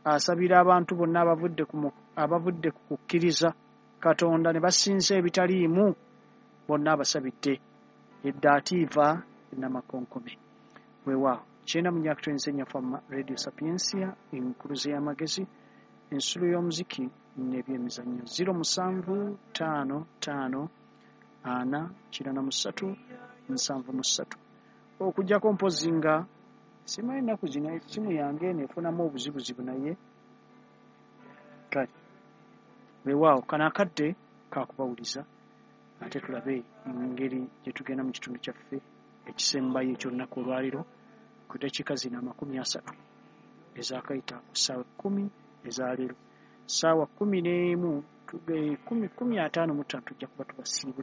Asabira abantu bonna abavudde ku abavudde ku kukkiriza Katonda ne basinza ebitaliimu, bonna abasabidde. Edda atiiva Namakonkome. Weewaawo kyenda mu myaka twenzi Fama Radio Sapiensia, enkuluze y'amagezi, ensulo y'omuziki n'ebyemizannyo. Ziro musanvu ttaano ttaano ana kirana mu ssatu nsanvu mu ssatu. Okuggyako mpozzi nga simanyi ennaku zino essimu yange eno efunamu obuzibuzibu, naye kale weewaawo kano akadde kakubawuliza, ate tulabe engeri gye tugenda mu kitundu kyaffe ekisembayo eky'olunaku olwaleero ku ddakiika zino amakumi asatu ezaakayita ku ssaawa kkumi ezaleero, ssaawa kkumi n'emu kumi kumi ataano mu ttaano tujja kuba tubasiibula.